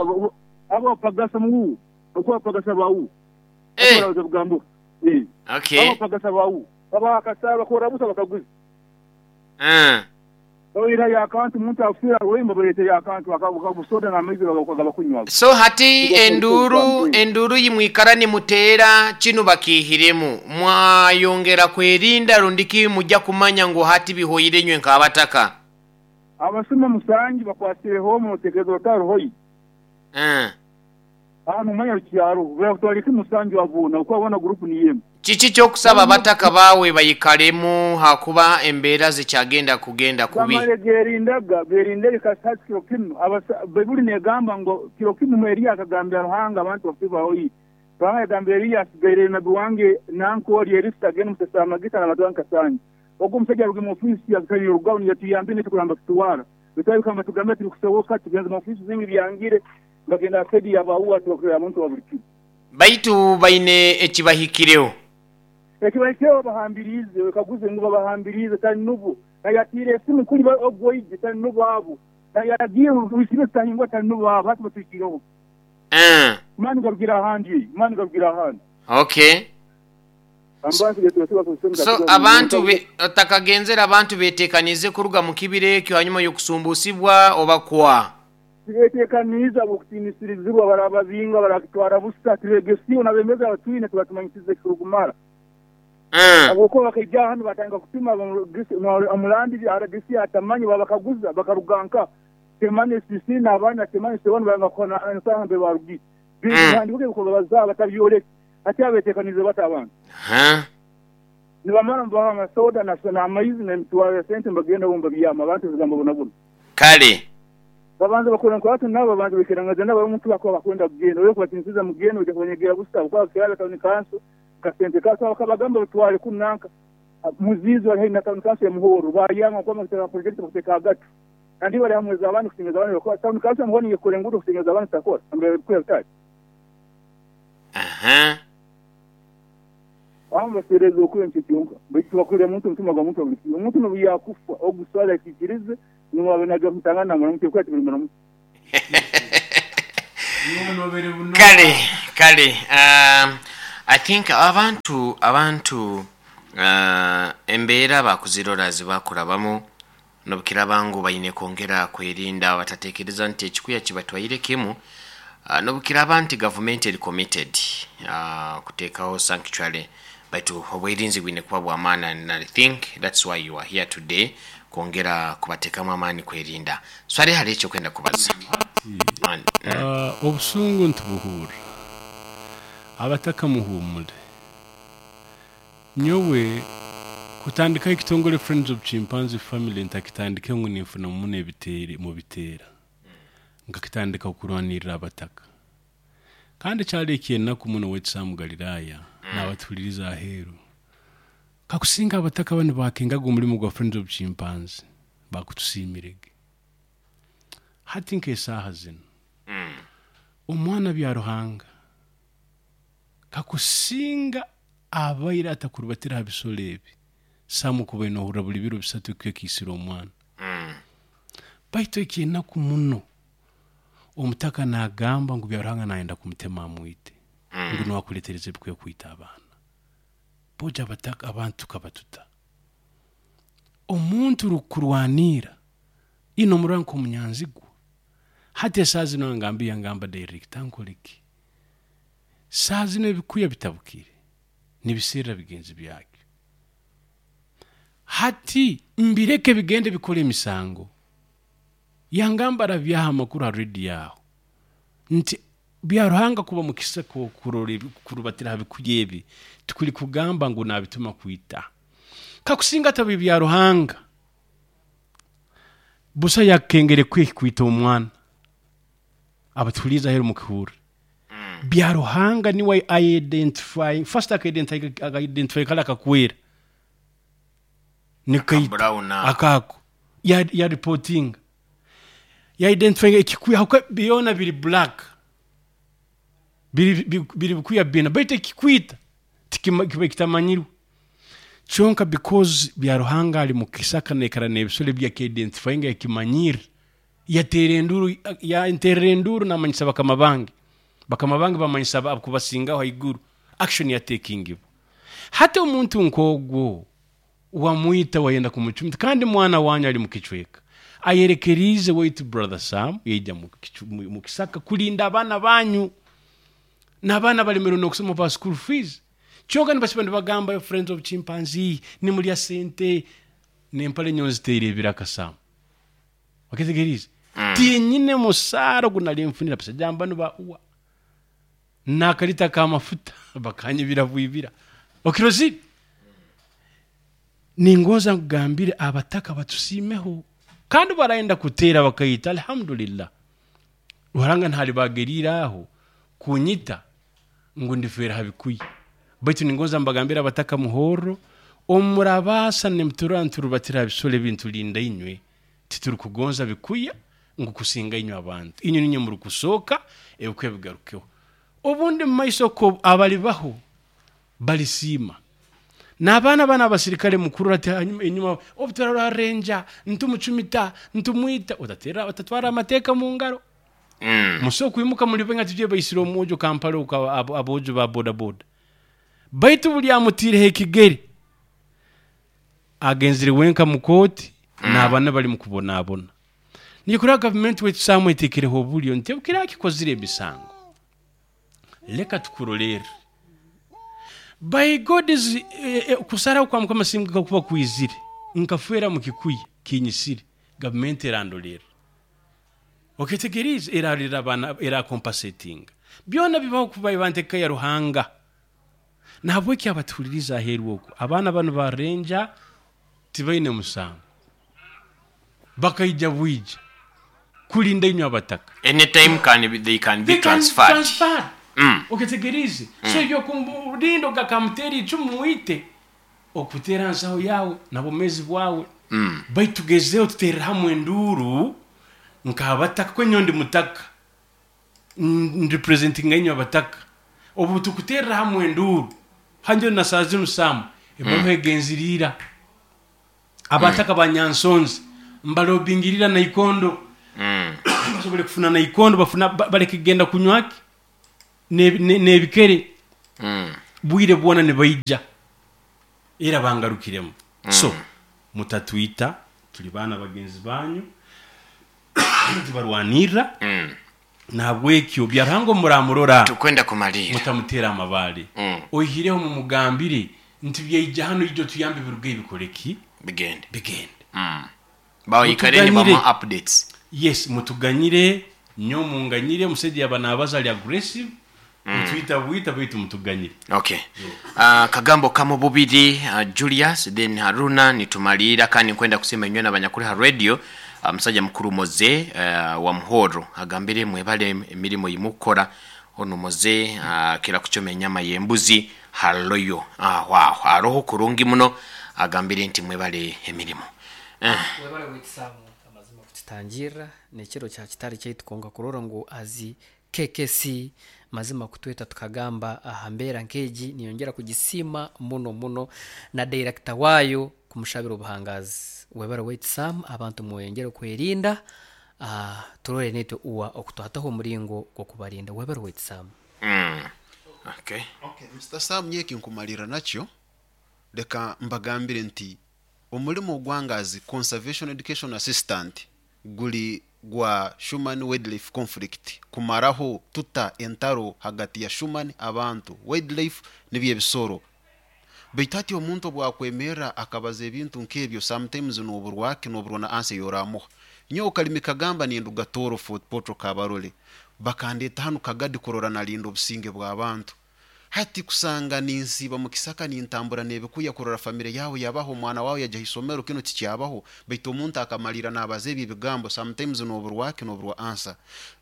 Abo bapagasa mu okuba bapagasa ba Eh. Okay. Abapagasa bawu babaha akasara bakora busa bakaguza. Babairayo akantu omuntu akufiira rwembo baleetayo akantu akabusoda n'amaizi bagabakunywa. So hati enduuru enduuru yimwikara nimuteera kinu bakiihiremu mwayongera kwerinda rundiki mujja kumanya ngu hati bihoire inywe nk'abataka? Abasuma musanju bakwasireho omu notekereza otaruhoyo. Aha nomanya rukyaro bakutwara iki musanju aboona okuba boona group niyo emu. Kiki kyokusaba abataka baawe baikaremu hakuba embeera zikyagenda kugenda kubi? Bamale gerindaga berindege kasita hati kiro kinu baibuli negamba ngu kiro kimu Eliya akagambira Ruhanga abantu bafe bahoire. Ruhanga yagambira Eliya asigaireyo nabi wange nanka ori Elisa agende omusesa amagita nabantu bange kasanju. Ogu omusaija aruge mu ofisi akaiha orugaho niyatuyambire nekyo kuramba kitwara. Baitu abikamba tugambira tibikusoboka tugenze mu ofisi zingi byangire. Bagenda ha saidi ya bauwa tibakurora muntu wa buli kiro. Baitu baine ekibahikireho. Ekibahikireho babahambiriize, wekaguze ngu babahambiriize tali nubo. Nayatiire esimu kuli ogu oije tali nubo abo. Nayaragiire ngu wikirize tutahingura tali nubo abo. Hati batuhikireho. Mani garugira ahandi, mani garugira ahandi. Okay. So abantu otakagenzere abantu betekaniize kuruga mu kibira ekyo hanyuma y'okusumbusibwa oba kwa? Tibeeteekaniize habw'okutiinisirizibwa, baraababinga, baraakitwara busa. Tibeegesiibwe, n'abeebembezi abatwine tibatumanyisize ekirukumara. Habwokuba bakaija hanu baatandika kutuma omulandiri RDC atamanye, baabakaguza bakaruga nka Temane CC n'abandi na Temane C1 bayanga kuhana ensaaha nambere baarugire. Bintu bihandiikirwe ebikubabazaho batabyoleke. Hati abeeteekaniize bata abantu? Nibamara nibabaha amasoda n'amaizi n'emitwaro ya sente nibagenda bo nibabyama abantu ebigambo bonabona. Kale. Babanza bakora enkwata nabo, babanza baikirangaza nabo omuntu bakuba bakwenda kugenda. Oyo kubatinisiza mugende oija kubanyegera busa habwokuba kirabe tawuni kanso kasente kato bakabagamba batwale kunu nanka Muziizi bali haihi na tawuni kanso ya Muhorro bayanga ngu kuba bakuteka project bakuteka agatu. Kandi bari hamwe z'abandi kusinga abandi bakora. Town council mbona yekora enguudo kusinga z'abandi zitakora. Mbere bikuya bitari. Aha. Abamu baseereza okuya nikyo kyonka. Baitu tibakwire muntu omutima gwa muntu buli kiro. Omuntu n'obu yaakufa ogu swali akiikirize ngu abe naija kumutangana namuramuka ebikuya tibirimuramuka. Kale kale I think abantu abantu embeera bakuzirora zibakurabamu Nobukiraba ngu baine kwongera kwerinda batatekereza nti ekikuya kibatwaire kimu, nobukiraba nti gavumenti eri committed kutekaho sanctuary baitu obwerinzi bwine kuba bwamaani and I think that's why you are here today kwongera kubatekamu amaani kwerinda. Swaleh hariho ekyokwenda kubaza? Obusungu nitubuhurra. Abataka muhuumule. Nyowe kutandikaho ekitongore Friends of Chimpanzee Family ntakitandike ngu ninfuna muno ebiteere mubiteera. Nkakitandika kurwanirira abataka. Kandi kyali eky'enaku muno owaitu Sam Galilaya naabatuhuliriza aheeru. Kakusinga abataka banu baakengaga omulimo gwa Friends of Chimpanzee, baakutusiimirege. Hati nk'esaaha zinu, omwana Byaruhanga Kakusinga abaire atakurubatira ha bisoro ebi, Sam okubaire nohurra buli biro bisatu ekikuya kiisire omwana. Baitu eky'enaku muno, omutaka nagamba ngu Byaruhanga nayenda kumutema amwite, ngu nuwe akuletereza ebikuya kwita abaana. Bojo abataka abantu tukaba tuta? Omuntu orukukurwaniira, iwe nomurora nk'omunyanzigwa. Hati esaaha zinu angambiire yangamba director nkole ki? Saaha zinu ebikuya bitabukire, nibiserra bigenzi byakyo. Hati mbireke bigende bikole emisango. Yangamba arabyaha amakuru ha rediyo aho nti Byaruhanga kuba mukisa kurora kurubatira ha bikuya ebi tikuli kugamba ngu nabituma kwita. Kakusinga atabe Byaruhanga, busa yakukengera ekuya ekikwita omwana. Abatuhuliiriza aheeru mukihurre. Byaruhanga niwe identify first aka identify kali akakwera nikaita Brown ako. akako ya, ya reportinga ya identify ekikuya habwokuba byona biri black biri biri bikuya bina baitu ekikwita tikima kiba kitamanyirwe kyonka because Byaruhanga ali mukisaka naikara n'ebisoro ebi yaki identifyinga yakimanyirra Yateera enduuru, yanteerera enduuru naamanyisa bakama bange. Bakama bange baamanyisa abakubasingaho haiguru. Action yateekingibwa. Hati omuntu nk'ogwo wamwita wayenda kumucumita kandi mwana wanyu ali mukicweka. Ayerekeriize waitu brother Sam yaija mu kisaka kulinda abaana banyu. N'abaana balemerwe n'okusoma ba school fees. Kyonka nibasiba nibagamba friends of chimpanzee nimurya sente n'empare nyowe nziteire ebiraka Sam. Oketegeriize? Tinyine musaara ogu nali nfunire abasaija banu ba uwa. N'akalita k'amafuta bakanyibira bwibira. Okirozire? Ningonza nkugambire abataka batusiimeho. Kandi barayenda kuteera bakaita, alhamdulillah. Ruhanga ntalibageriire aho kunyita ngu ndifeera ha bikuya. Baitu ningonza mbagambire abataka muhorro, obu murabaasa nimuturora niturubatira ha bisoro ebi nitulinda inywe, Titurukugonza bikuya ngu kusinga inywe abantu. Inywe niinywe murukusooka ebikuya bigarukeho. Obundi mu maiso ko abalibaho balisiima. N'abaana banu abasirikale mukurora ati hanyuma enyuma obu turarora renja ntumucumita, ntumwita, otateera otatwara amateeka mu ngaro. Musobora kwimuka muli baingi ati baisire omwojo Kampala oku aboojo ba bodaboda. Baitu buli amutiireho ekigere Agenzire wenka mu kooti n'abaana bali mu kubonabona. Nikyo kurora gavumenti waitu Sam etekereho obulyo nti obu kiraba kikozire emisango leka tukurolerre. By God's kusaraho kwa Mukama singa kakuba kwizire nkafeera mu kikuya kinyisire gavumenti erandolerra. Oketegeriize? Erarolerra abaana erakompasetinga. Byona bibaho kuba eba ntegeka ya Ruhanga. Nahabweki abatuhuliriza aheeru oku, abaana banu ba Ranger tibaine musango. Bakaija bwija kulinda inywe abataka. Any time can be, they can be They can transferred. transferred. Oketegeriize? So eby'okumurinda ogu akamuteera icumu mwite, okuteera nsaho yaawe na bwomeezi bwawe. Baitu tugezeho tuterere hamwe enduuru nk'abataka, kuko nyowe ndi mutaka, nrepresentinga inywe abataka. Obu tukuterera hamwe enduuru hanje na saa zinu Sam ebaruha egenziriira abataka banyansonzi mbalobingirira naikondo, basobole kufuna naikondo, bafuna baleke kugenda kunywaki n'ebikere bwire bwona nibaija era bangarukiremu. So mutatwita, tuli baana bagenzi banyu, tubarwanirra. Nahabwekyo Byaruhanga muramurora, tukwenda kumalira, mutamutera amabaale. Oihireho mumugambire nti byaija hano, ijo tuyambe biruge bikoreki, bigende, bigende. Baikare ni Mutuganyire. bamuha updates. Yes, mutuganyire, nyo munganyire, omusajja yaba nabaza ali aggressive, mutwita bwita, baitu mutuganyire. Okay. Kagambo kamo bubiri, Julius then Haruna, nitumalira. Kandi nkwenda kusema inywe n'abanyakuri ha radio. Musajja mukuru Moze wa Muhoro agambire mwebale emirimu yimukora. Ono Moze kira kuchoma enyama y'embuzi haloyo, wow, aroho kurungi muno, agambire nti mwebale emirimu. Webale wetisamu amazima kututangirra nekiro kya kitari kyaitu, konka kurora ngu azi KKC mazima kutweta tukagamba aha mbeera nk'egi, niyongera kugisiima muno muno, na director waayo kumushabira obuhangazi. Webale wetisamu, abantu mweyongere kwerinda, turore nitwe uwa okutwataho omuringo gw'okubarinda. Webale wetisamu. Okay. Okay, Mr. Sam, nyeki nkumalira nakyo, leka mbagambire nti omulimo ogwangazi conservation education assistant guli gwa human wildlife conflict, kumaraho tuta entaro hagati ya human, abantu, wildlife nibyo ebisoro. Baitu hati omuntu obwakwemerra akabaza ebintu nk'ebyo, sometimes noburwaki noburwa na ansa eyoramuha. Nyowe kalimi kagamba ninduga Toro, Fort Portal, Kabarole, bakandeta hanu Kagadi kurora nalinda obusinge bw'abantu. Hati kusanga ninsiiba mu kisaka, nintambura n'ebikuya kurora famire yawe yabaho, omwana wawe yajya isomero, kino tikyabaho. Baitu omuntu akamalira nabaza ebyo ebigambo, sometimes noburwaki noburwa ansa.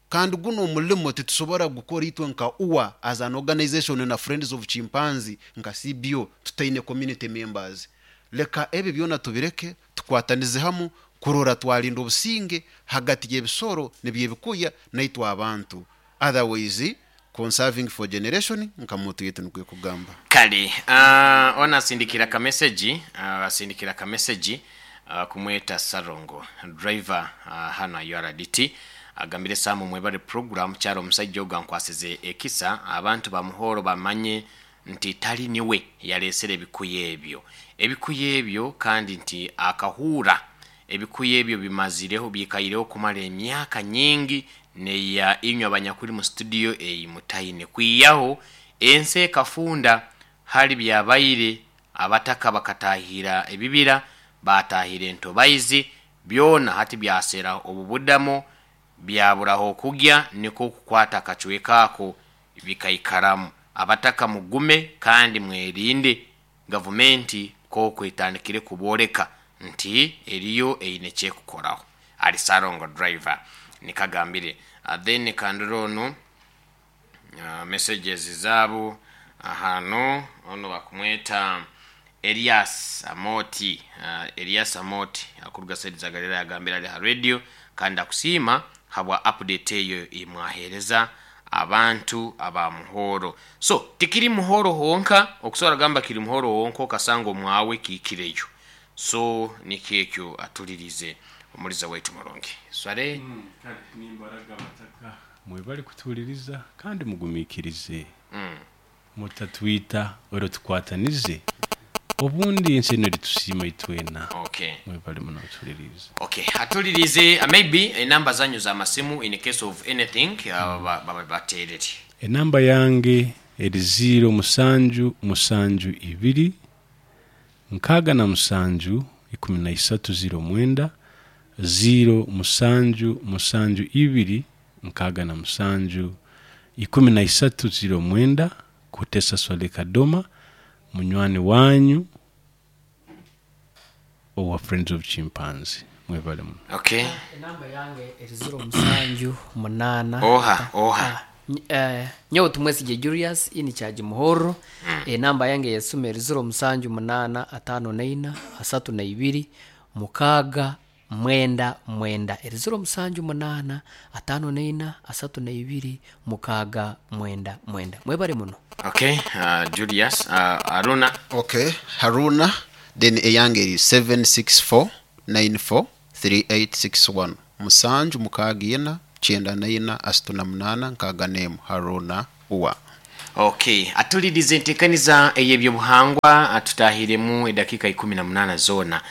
Kandi guno omulimo titusobora gukora itwe nka UWA as an organization na Friends of Chimpanzee nka CBO tutaine community members. Leka ebyo byona tubireke, tukwatanize hamu kurora twalinda obusinge hagati y'ebisoro nibyebikuya naitwe abantu. Otherwise, conserving for generation nka muntu yetu nikwe kugamba. Kale, ona asindikira kameseji, asindikira kameseji, kumweta Sarongo driver, hano URDT, agambire Samu mwebale program, kyaro omusajja ogo ankwasize ekisa, abantu bamuhoro bamanye nti tali niwe yalesere ebikuya ebyo, ebikuya ebyo, kandi nti akahura ebikuya ebyo bimazireho, bikaireho kumara emyaka nyingi, neya inywe abanyakuri mu studio eyi mutaine kwiyaho ensi ekafunda hali byabaire abataka bakatahira ebibira, batahira entobaizi byona, hati byasera obubudamo, byaburaho okugya, niko okukwata akacweka ako bikaikaramu. Abataka mugume kandi mwerinde, gavumenti koko etandikire kuboreka nti eriyo eine kyekukoraho. Ali Sarongo driver nikagambire. Then kanduro onu, messages zabo ahano, ono bakumweta Elias Amoti, Elias Amoti akuruga side za Galilaya, agambira ali ha radio kandi akusiima habwa update eyo imwahereza abantu aba Muhoro. So tikiri Muhoro honka, okusobora gamba kiri Muhoro honka okasanga omwawe kikireyo. So nikyekyo atulirize omuliza waitu murungi sware. Kale nimbaraga abataka, mwebale kutuhuliriza kandi mugumikirize, mutatwita, ero tukwatanize, obundi ensi eno eritusiima itwena. Okay. Mwebale muno kutuhuliriza. Okay, atulirize, maybe enamba zanyu za masimu in case of anything, baterere. Enamba yange eri 0 7 7 2 67 13 09, 0 7 7 2 67 13 09, Kutesa Swale Kadoma, munywani wanyu owa Friends of Chimpanzee. Mwebale muno. Okay. Enamba yange eri 0 7 8. Oha, oha. Nyowe tumwesige Julius ini chaji Muhoro. Enamba yange yesuma eri 0 7 8 5 4 32. mukaaga mwenda mwenda, eri 078 54 32 6 9 9. Mwebale muno. Okay, Julius, Aruna. Okay, Haruna, then eyange eri 764 94 3861, 764 94 38 61. Haruna uwa. Okay, atulirize entekaniza ey'ebyobuhangwa, tutahiremu edakika 18 zona.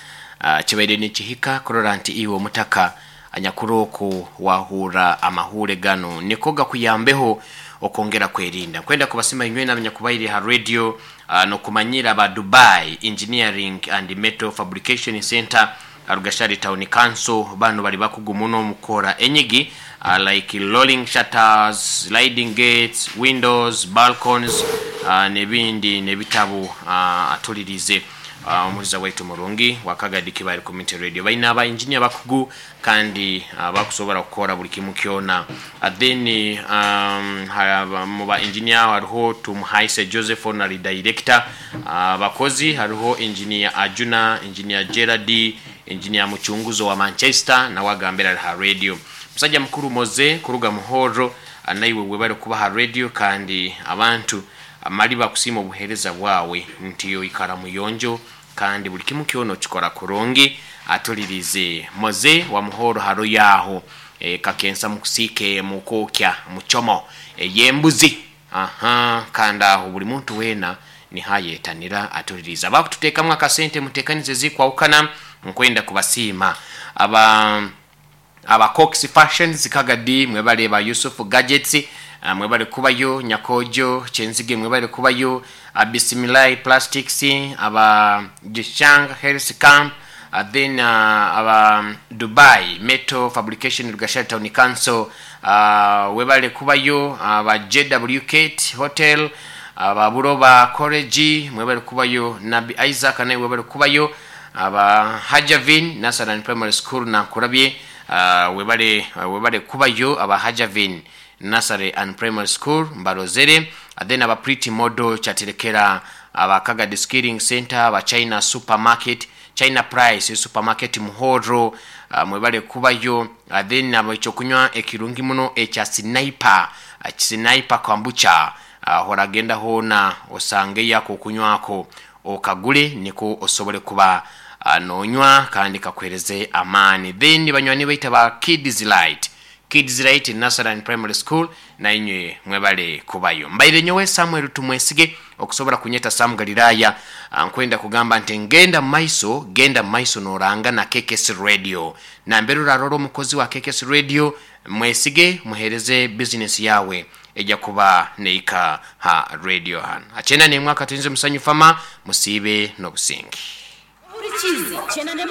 Kibaire nikihika kurora nti iwe omutaka anyakurooko wahura amahure gano niko gakuyambeho okwongera kwerinda. Kwenda kubasima inywe n'abanyakubaire ha radio, nokumanyira ba Dubai Engineering and Metal Fabrication Center, Rugashari Town Council. Bano bali bakugu muno mukora enyigi, like rolling shutters, sliding gates, windows, balconies, n'ebindi n'ebitabo. Atulirize omuliza waitu murungi wakagadi Kibali Community Radio, balina aba engineer bakugu kandi bakusobola kukora buli kimu kyona. Then mu ba engineer hariho Tumuhaise Joseph, honorary director. Abakozi hariho engineer Ajuna, engineer Gerard, engineer Muchunguzo wa Manchester, nawe agambira ari ha radio. Musajja mukuru Moze kuruga Muhoro, naiwe webale kuba ha radio, kandi abantu amali bakusiima obuheereza bwawe nti oikara muyonjo kandi buli kimu kyona okikora kurungi. Atulirize Moze wa Muhoro haro yaho, kakensa mukusike mukokya muchomo eyembuzi, aha, kandi aho buli muntu wena nihayetanira. Atuliriza bakututeekamu akasente mutekanize zikwawukana, nkwenda kubasiima aba Cox Fashions Kagadi, mwebale ba Yusuf Gadgets, mwebale kubayo Nyakojo Kyenzige, mwebale kubayo Bismillah Plastics, aba Jishang Health Camp, then aba Dubai Metal Fabrication Rugashari Town Council, webale kubayo aba JW Kate Hotel, aba Buroba College, mwebale kubayo Nabi Isaac naye webale kubayo, aba Hajavin Nasaran Primary School nakurabye, webale kubayo aba Hajavin Nursery and Primary School mbarozere. Then aba Pretty Model Kyaterekera, aba Kagadi Skilling Center, aba China Supermarket, China Price Supermarket Muhoro, mwebale kubayo. Then aba ekyokunywa ekirungi muno ekya Sniper, Sniper Kombucha, horagenda hona osange yako okunywako okagule niko osobole kuba nonywa kandi kakwereze amaani. Then banywani baita ba Kids Light, Kids Light Nursery Primary School, nainywe mwebale kubayo. Mbaire nyowe Samuel Tumwesige, okusobola kunyeta Sam Galilaya. Nkwenda kugamba nti ngenda maiso, genda maiso noranga na KKS Radio, nambere urarora omukozi wa KKS Radio mwesige, muhereze business yawe ejja kuba neika ha radio hano achena nemwaka tuinze musanyu fama musibe n'obusingi. Burikizi 91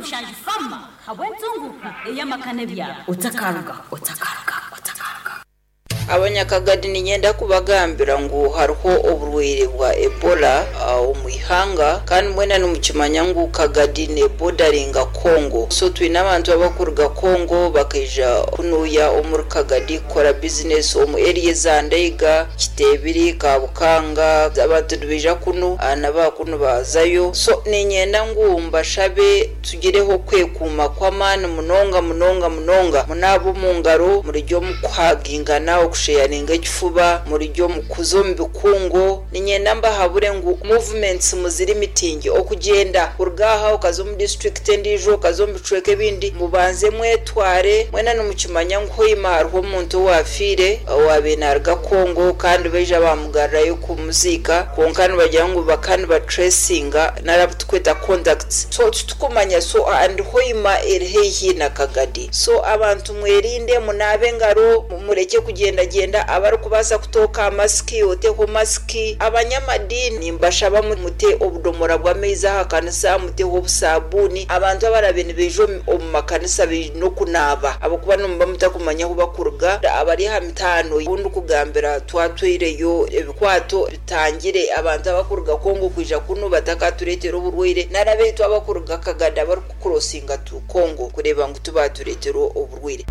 7 fama habwenzunguka eyamakane byabo. Otakaruga, otakaruga, otakaruga. Abanyakagadi ninyenda kubagambira ngu hariho oburwaire bwa Ebola omu ihanga, kandi mwena nimukimanya ngu Kagadi nebodaringa Congo, so twine abantu abakuruga Congo bakaija kunuya omuri Kagadi kukora bizinesi omu area za Ndeiga, Kitebiri, Kabukanga. Abantu nibaija kunu, nabakunu bazayo. So ninyenda ngu mbashabe tugireho kwekuuma kw'amaani munonga munonga munonga, munaaba omu ngaro, murijya omu kuhagingana, okusheyaringa ekifuba, murijya omu kuza omu bikungu. Ninyenda mbahabure ngu movements muziri mitingi, okugyenda kuruga aha okaza omu district endiijo, okaza omu bicweka ebindi, mubanze mwetware. Mwena nimukimanya ngu hoima hariho omuntu owafiire owabiire naruga Congo, kandi baija bamugarurayo kumuziika, kwonka nibagira ngu bakaba nibatracinga nari tukweta contacts, so titukumanya. So and hoima eri haihi na Kagadi, so abantu mwerinde, munaabe engaro, mureke kugendagenda. Abarikubaasa kutooka masiki oteho masiki. Abanyamadini mbashaba mute obudomora bw'amaizi aha kanisa, muteho obusabuni. Abantu abarabe nibaija omu makanisa baine okunaaba, ahabw'okuba nimuba mutakumanya ahu bakuruga. Abari aha mitaano obundi kugambira twatwireyo ebikwato bitangire abantu abakuruga Congo kwija kunu batakatureetera oburwaire, nari abaitu abakuruga Kagadi abarikukurosinga tu Congo kureeba ngu tibatureetera oburwaire.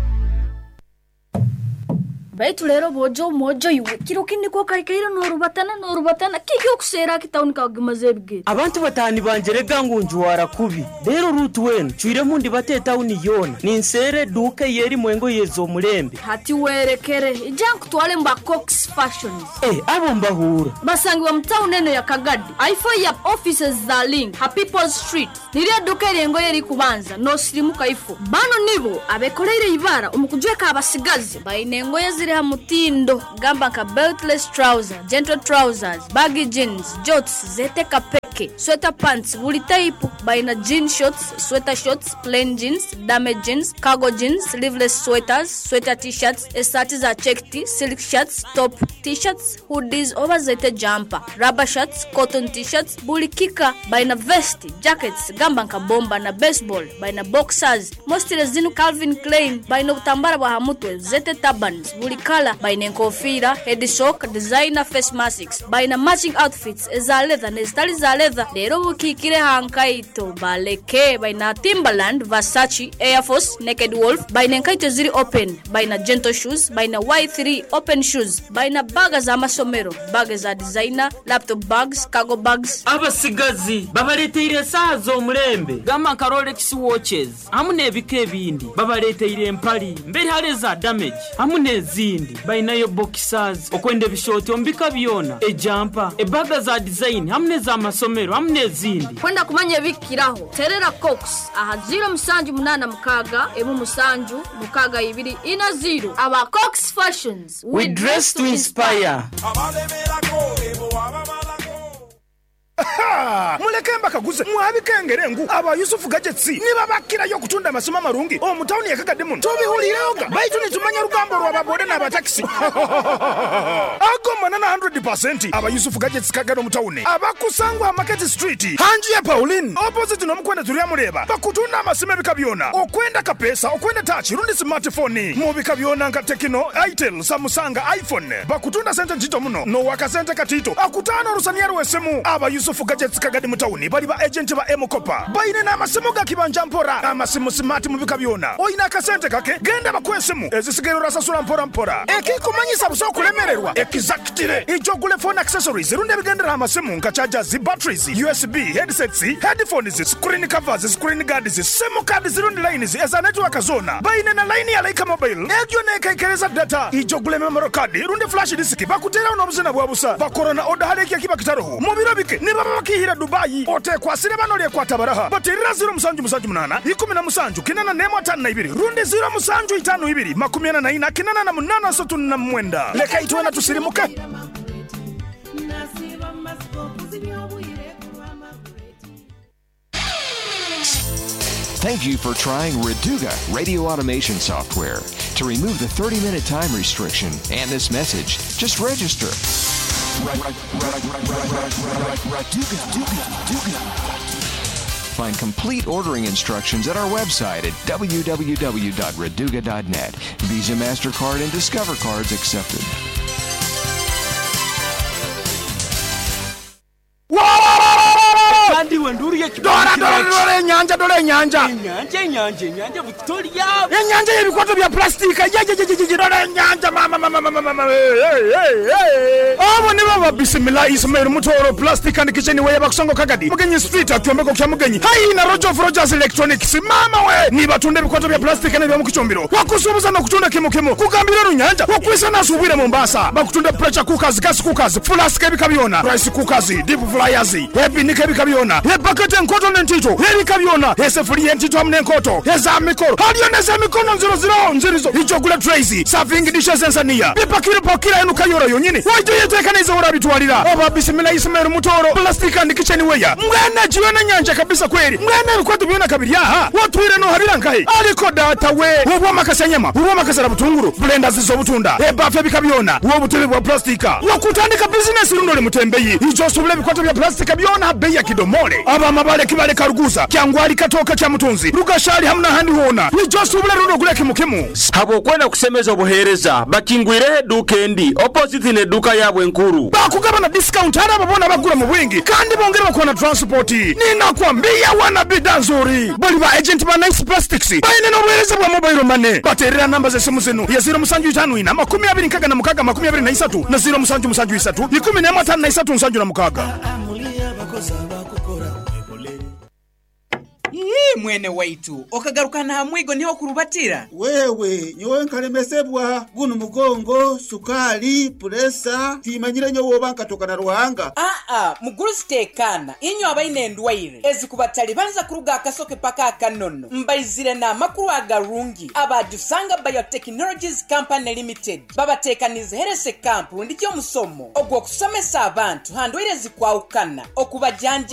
Baitu leero boojo mwojo iwe, kiro kinu nikwo okaikaire noorubatana noorubatana, kiki okuseera aki tawuni kakugimaza ebigere? Abantu batahani banjerega ngu njwara kubi. Reero Ruth weena ncwiremu ndibate etawuni yoona, ninseera eduuka ey'erimu engoye ez'omulembe. Hati werekere, ija nkutwale mu ba Cox Fashions. Eh, abo mbahuura. Basangibwa mu tawuni eno ya Kagadi, aifo ya offices za Link ha People's Street. Niryo eduuka ery'engoye erikubanza n'osirimuka ifo. Banu nibo abekoleire eibara omu kujweka abasigazi. Baine engoye eziri ha mutindo gamba nka beltless trouser, gentle trousers, baggy jeans, jorts, zeete kapeke, sweater pants buli taipu. Baina jean shorts, sweater shorts, plain jeans, dame jeans, cargo jeans, sleeveless sweaters, sweater t-shirts, esaati za checked, silk shirts, top t-shirts, hoodies oba zeete jumper, rubber shirts, cotton t-shirts buli kika. Baina vest, jackets gamba nka bomba na baseball, baina boxers, mostly zinu Calvin Klein, baina obutambara bwa ha mutwe zeete turbans buli kala, baina enkofiira, head sock, designer face masks, baina matching outfits eza leather n'ezitali za leather. Reero obukiikire ha nkaito baleke, baina Timberland, Versace, Air Force, Naked Wolf, baina enkaito eziri open, baina gentle shoes, baina Y3 open shoes, baina baaga z'amasomero, baaga eza designer, laptop bags, cargo bags. Abasigazi babaleteire esaaha z'omulembe gamba nka Rolex watches hamu n'ebika ebindi. Babaleteire empali mberi hare eza damage hamu n'ezindi. Bainayo boxers, okwenda ebishooti omu bika byona, ejampa, ebaga za design hamu n'ezamasomero hamu n'ezindi. Kwenda kumanya ebikukiraho, terera Cox aha ziiro musanju munaana mukaaga, emu musanju, mukaaga ibiri, ina ziiro. Aba Cox Fashions, We dress to inspire. Muleke mbakaguze, mwabikengere ngu aba Yusuf Gadgets nibabakirayo okutunda amasimu amarungi omu tawuni ye Kagadi muno? Tubihuliirehoga baitu nitumanya orugambo orwa ba boda n'aba takisi. Ago manana hundred pasenti. Aba Yusuf Gadgets Kagadi omu tawuni abakusangwa aha Market Street ha nju ya Pauline opposite n'omukwenda Turyamureeba bakutunda amasimu ebika byona okwenda kapeesa, okwenda touch rundi smart phone mu bika byona nka Tecno, Itel, Samusanga, iPhone. Bakutunda sente ntito muno n'owakasente katito akutaana orusaniya rw'esimu. Aba Yusuf Gadgets Kagadi mu tawuni bali ba agenti ba M-Kopa. Baine n'amasimu ga kibanja mpora, amasimu simaati mu bika byona. Oine akasente kake, genda bakuhe esimu, ezisigaire orasasura mpora mpora. Ekikumanyisa busa okulemererwa, ekizakitire. Ija ogule phone accessories rundi ebigendera aha masimu nka chargers, batteries, USB, headsets, headphones, screen covers, screen guards, simu cards rundi lines eza network zoona. Baine na line ya Lyca Mobile egyo neekaikereza data. Ija ogule memory card rundi flash disk bakuteeraho n'obuzina bwa busa. Bakora na oda hare eki ekiba kitaroho. Mu biro bike nibaba bakiihire Dubai. Oteekwasire bano oryekwata baraha. Bateerera ziiro musanju musanju munaana, ikumi na musanju, kinana n'emwe ataano na ibiri rundi ziiro musanju itaano ibiri, makumi ana na ina, kinana na munaana asatu na mwenda. Leka itwena tusirimuke. Thank you for trying Raduga radio automation software. To remove the 30-minute time restriction and this message, just register. Find complete ordering instructions at our website at www.raduga.net. Visa, MasterCard, and Discover cards accepted. Kandi iwe nduru Dora, dora, dora enyanja, dora enyanja! Enyanja, enyanja, enyanja Victoria! Enyanja y'ebikwato bya pulasitiika! Yeyeyeyeye! Dora enyanja mama, mama, mama, mama! Hey, hey, hey! Abo nibo ba Bismillah Ismail Mutoro Plastic and Kitchen Ware bakusongo Kagadi, Mugenyi Street, akyombeko kya Mugenyi. Haihi na Roger of Rogers Electronics. Mama we! Nibatunda ebikwato bya pulasitiika n'ebyomukicumbiro. Wakusuubuza n'okutunda kimu kimu. Kugambira orunyanja, okwisa n'asuubwire Mombasa. Bakutunda pressure cookers, gas cookers, flask ebika byona, rice cookers, deep fryers, ebinika ebika byona, ebaketi enkoto n'entito ebika byona, esefuriya entito hamu n'enkoto eza mikoro. Haliyo n'ez'emikono nziro ziro nzirizo. Ija ogule trays, serving dishes ensaniya, bipakire pakira enu Kayora yonyini. Waija oyeteekanize w'orabitwalira. Oba Bismillah Ismail Mutoro, Plastic and Kitchen Ware. Mbwenu egi yoona enyanja kabisa kweri. Mbwenu ebikwato byona kabiri aha, otwire nohabira nkahi? Ariko data we! Obw'amakasya nyama, obw'amakasara butunguru, blenders z'obutunda, ebaafu ebika byona, obutebe bwa pulastika. Wakutandika bizinesi rundi ori mutembeyi, ija osuubule ebikwato bya pulastika byona aha beeyi ya kidomole. Aba Mabale, Kibale, Karuguza, Kyangwali, Katooka, Kyamutunzi, Rugashari hamu n'ahandi hoona. yoona. Ija osuubule rundi ogule kimu kimu. Habw'okwenda kusemeza obuheereza, bakingwireho eduuka endi opposite n'eduuka yaabwe enkuru. Bakugaba na discount hali abo boona abagura mu bwingi kandi bongere bakuwa na transport. Ninakwambia wana bidhaa nzuri. Bali ba agent ba Nice Plastics baine n'obuheereza bwa mobile money. Bateerera namba z'esimu zinu ya 0754 26 23 na 0773 14 53 76. Ii, mwene waitu okagarukana ha mwigo niho kurubatira. Wewe nyowe nkalemesebwa guno mugongo, sukali, puresa, timanyire nyowe oba nkatoka na Ruhanga. Aa, mugurusi tekana, inywe abaine endwaire ezikubatalibanza kuruga akasoke paka akanono, mbaizire n'amakuru agarungi. Abajusanga Biotechnologies Company Limited babatekanize herese camp rundi ky'omusomo ogw'okusomesa abantu ha ndwaire ezikwawukana okubajanja.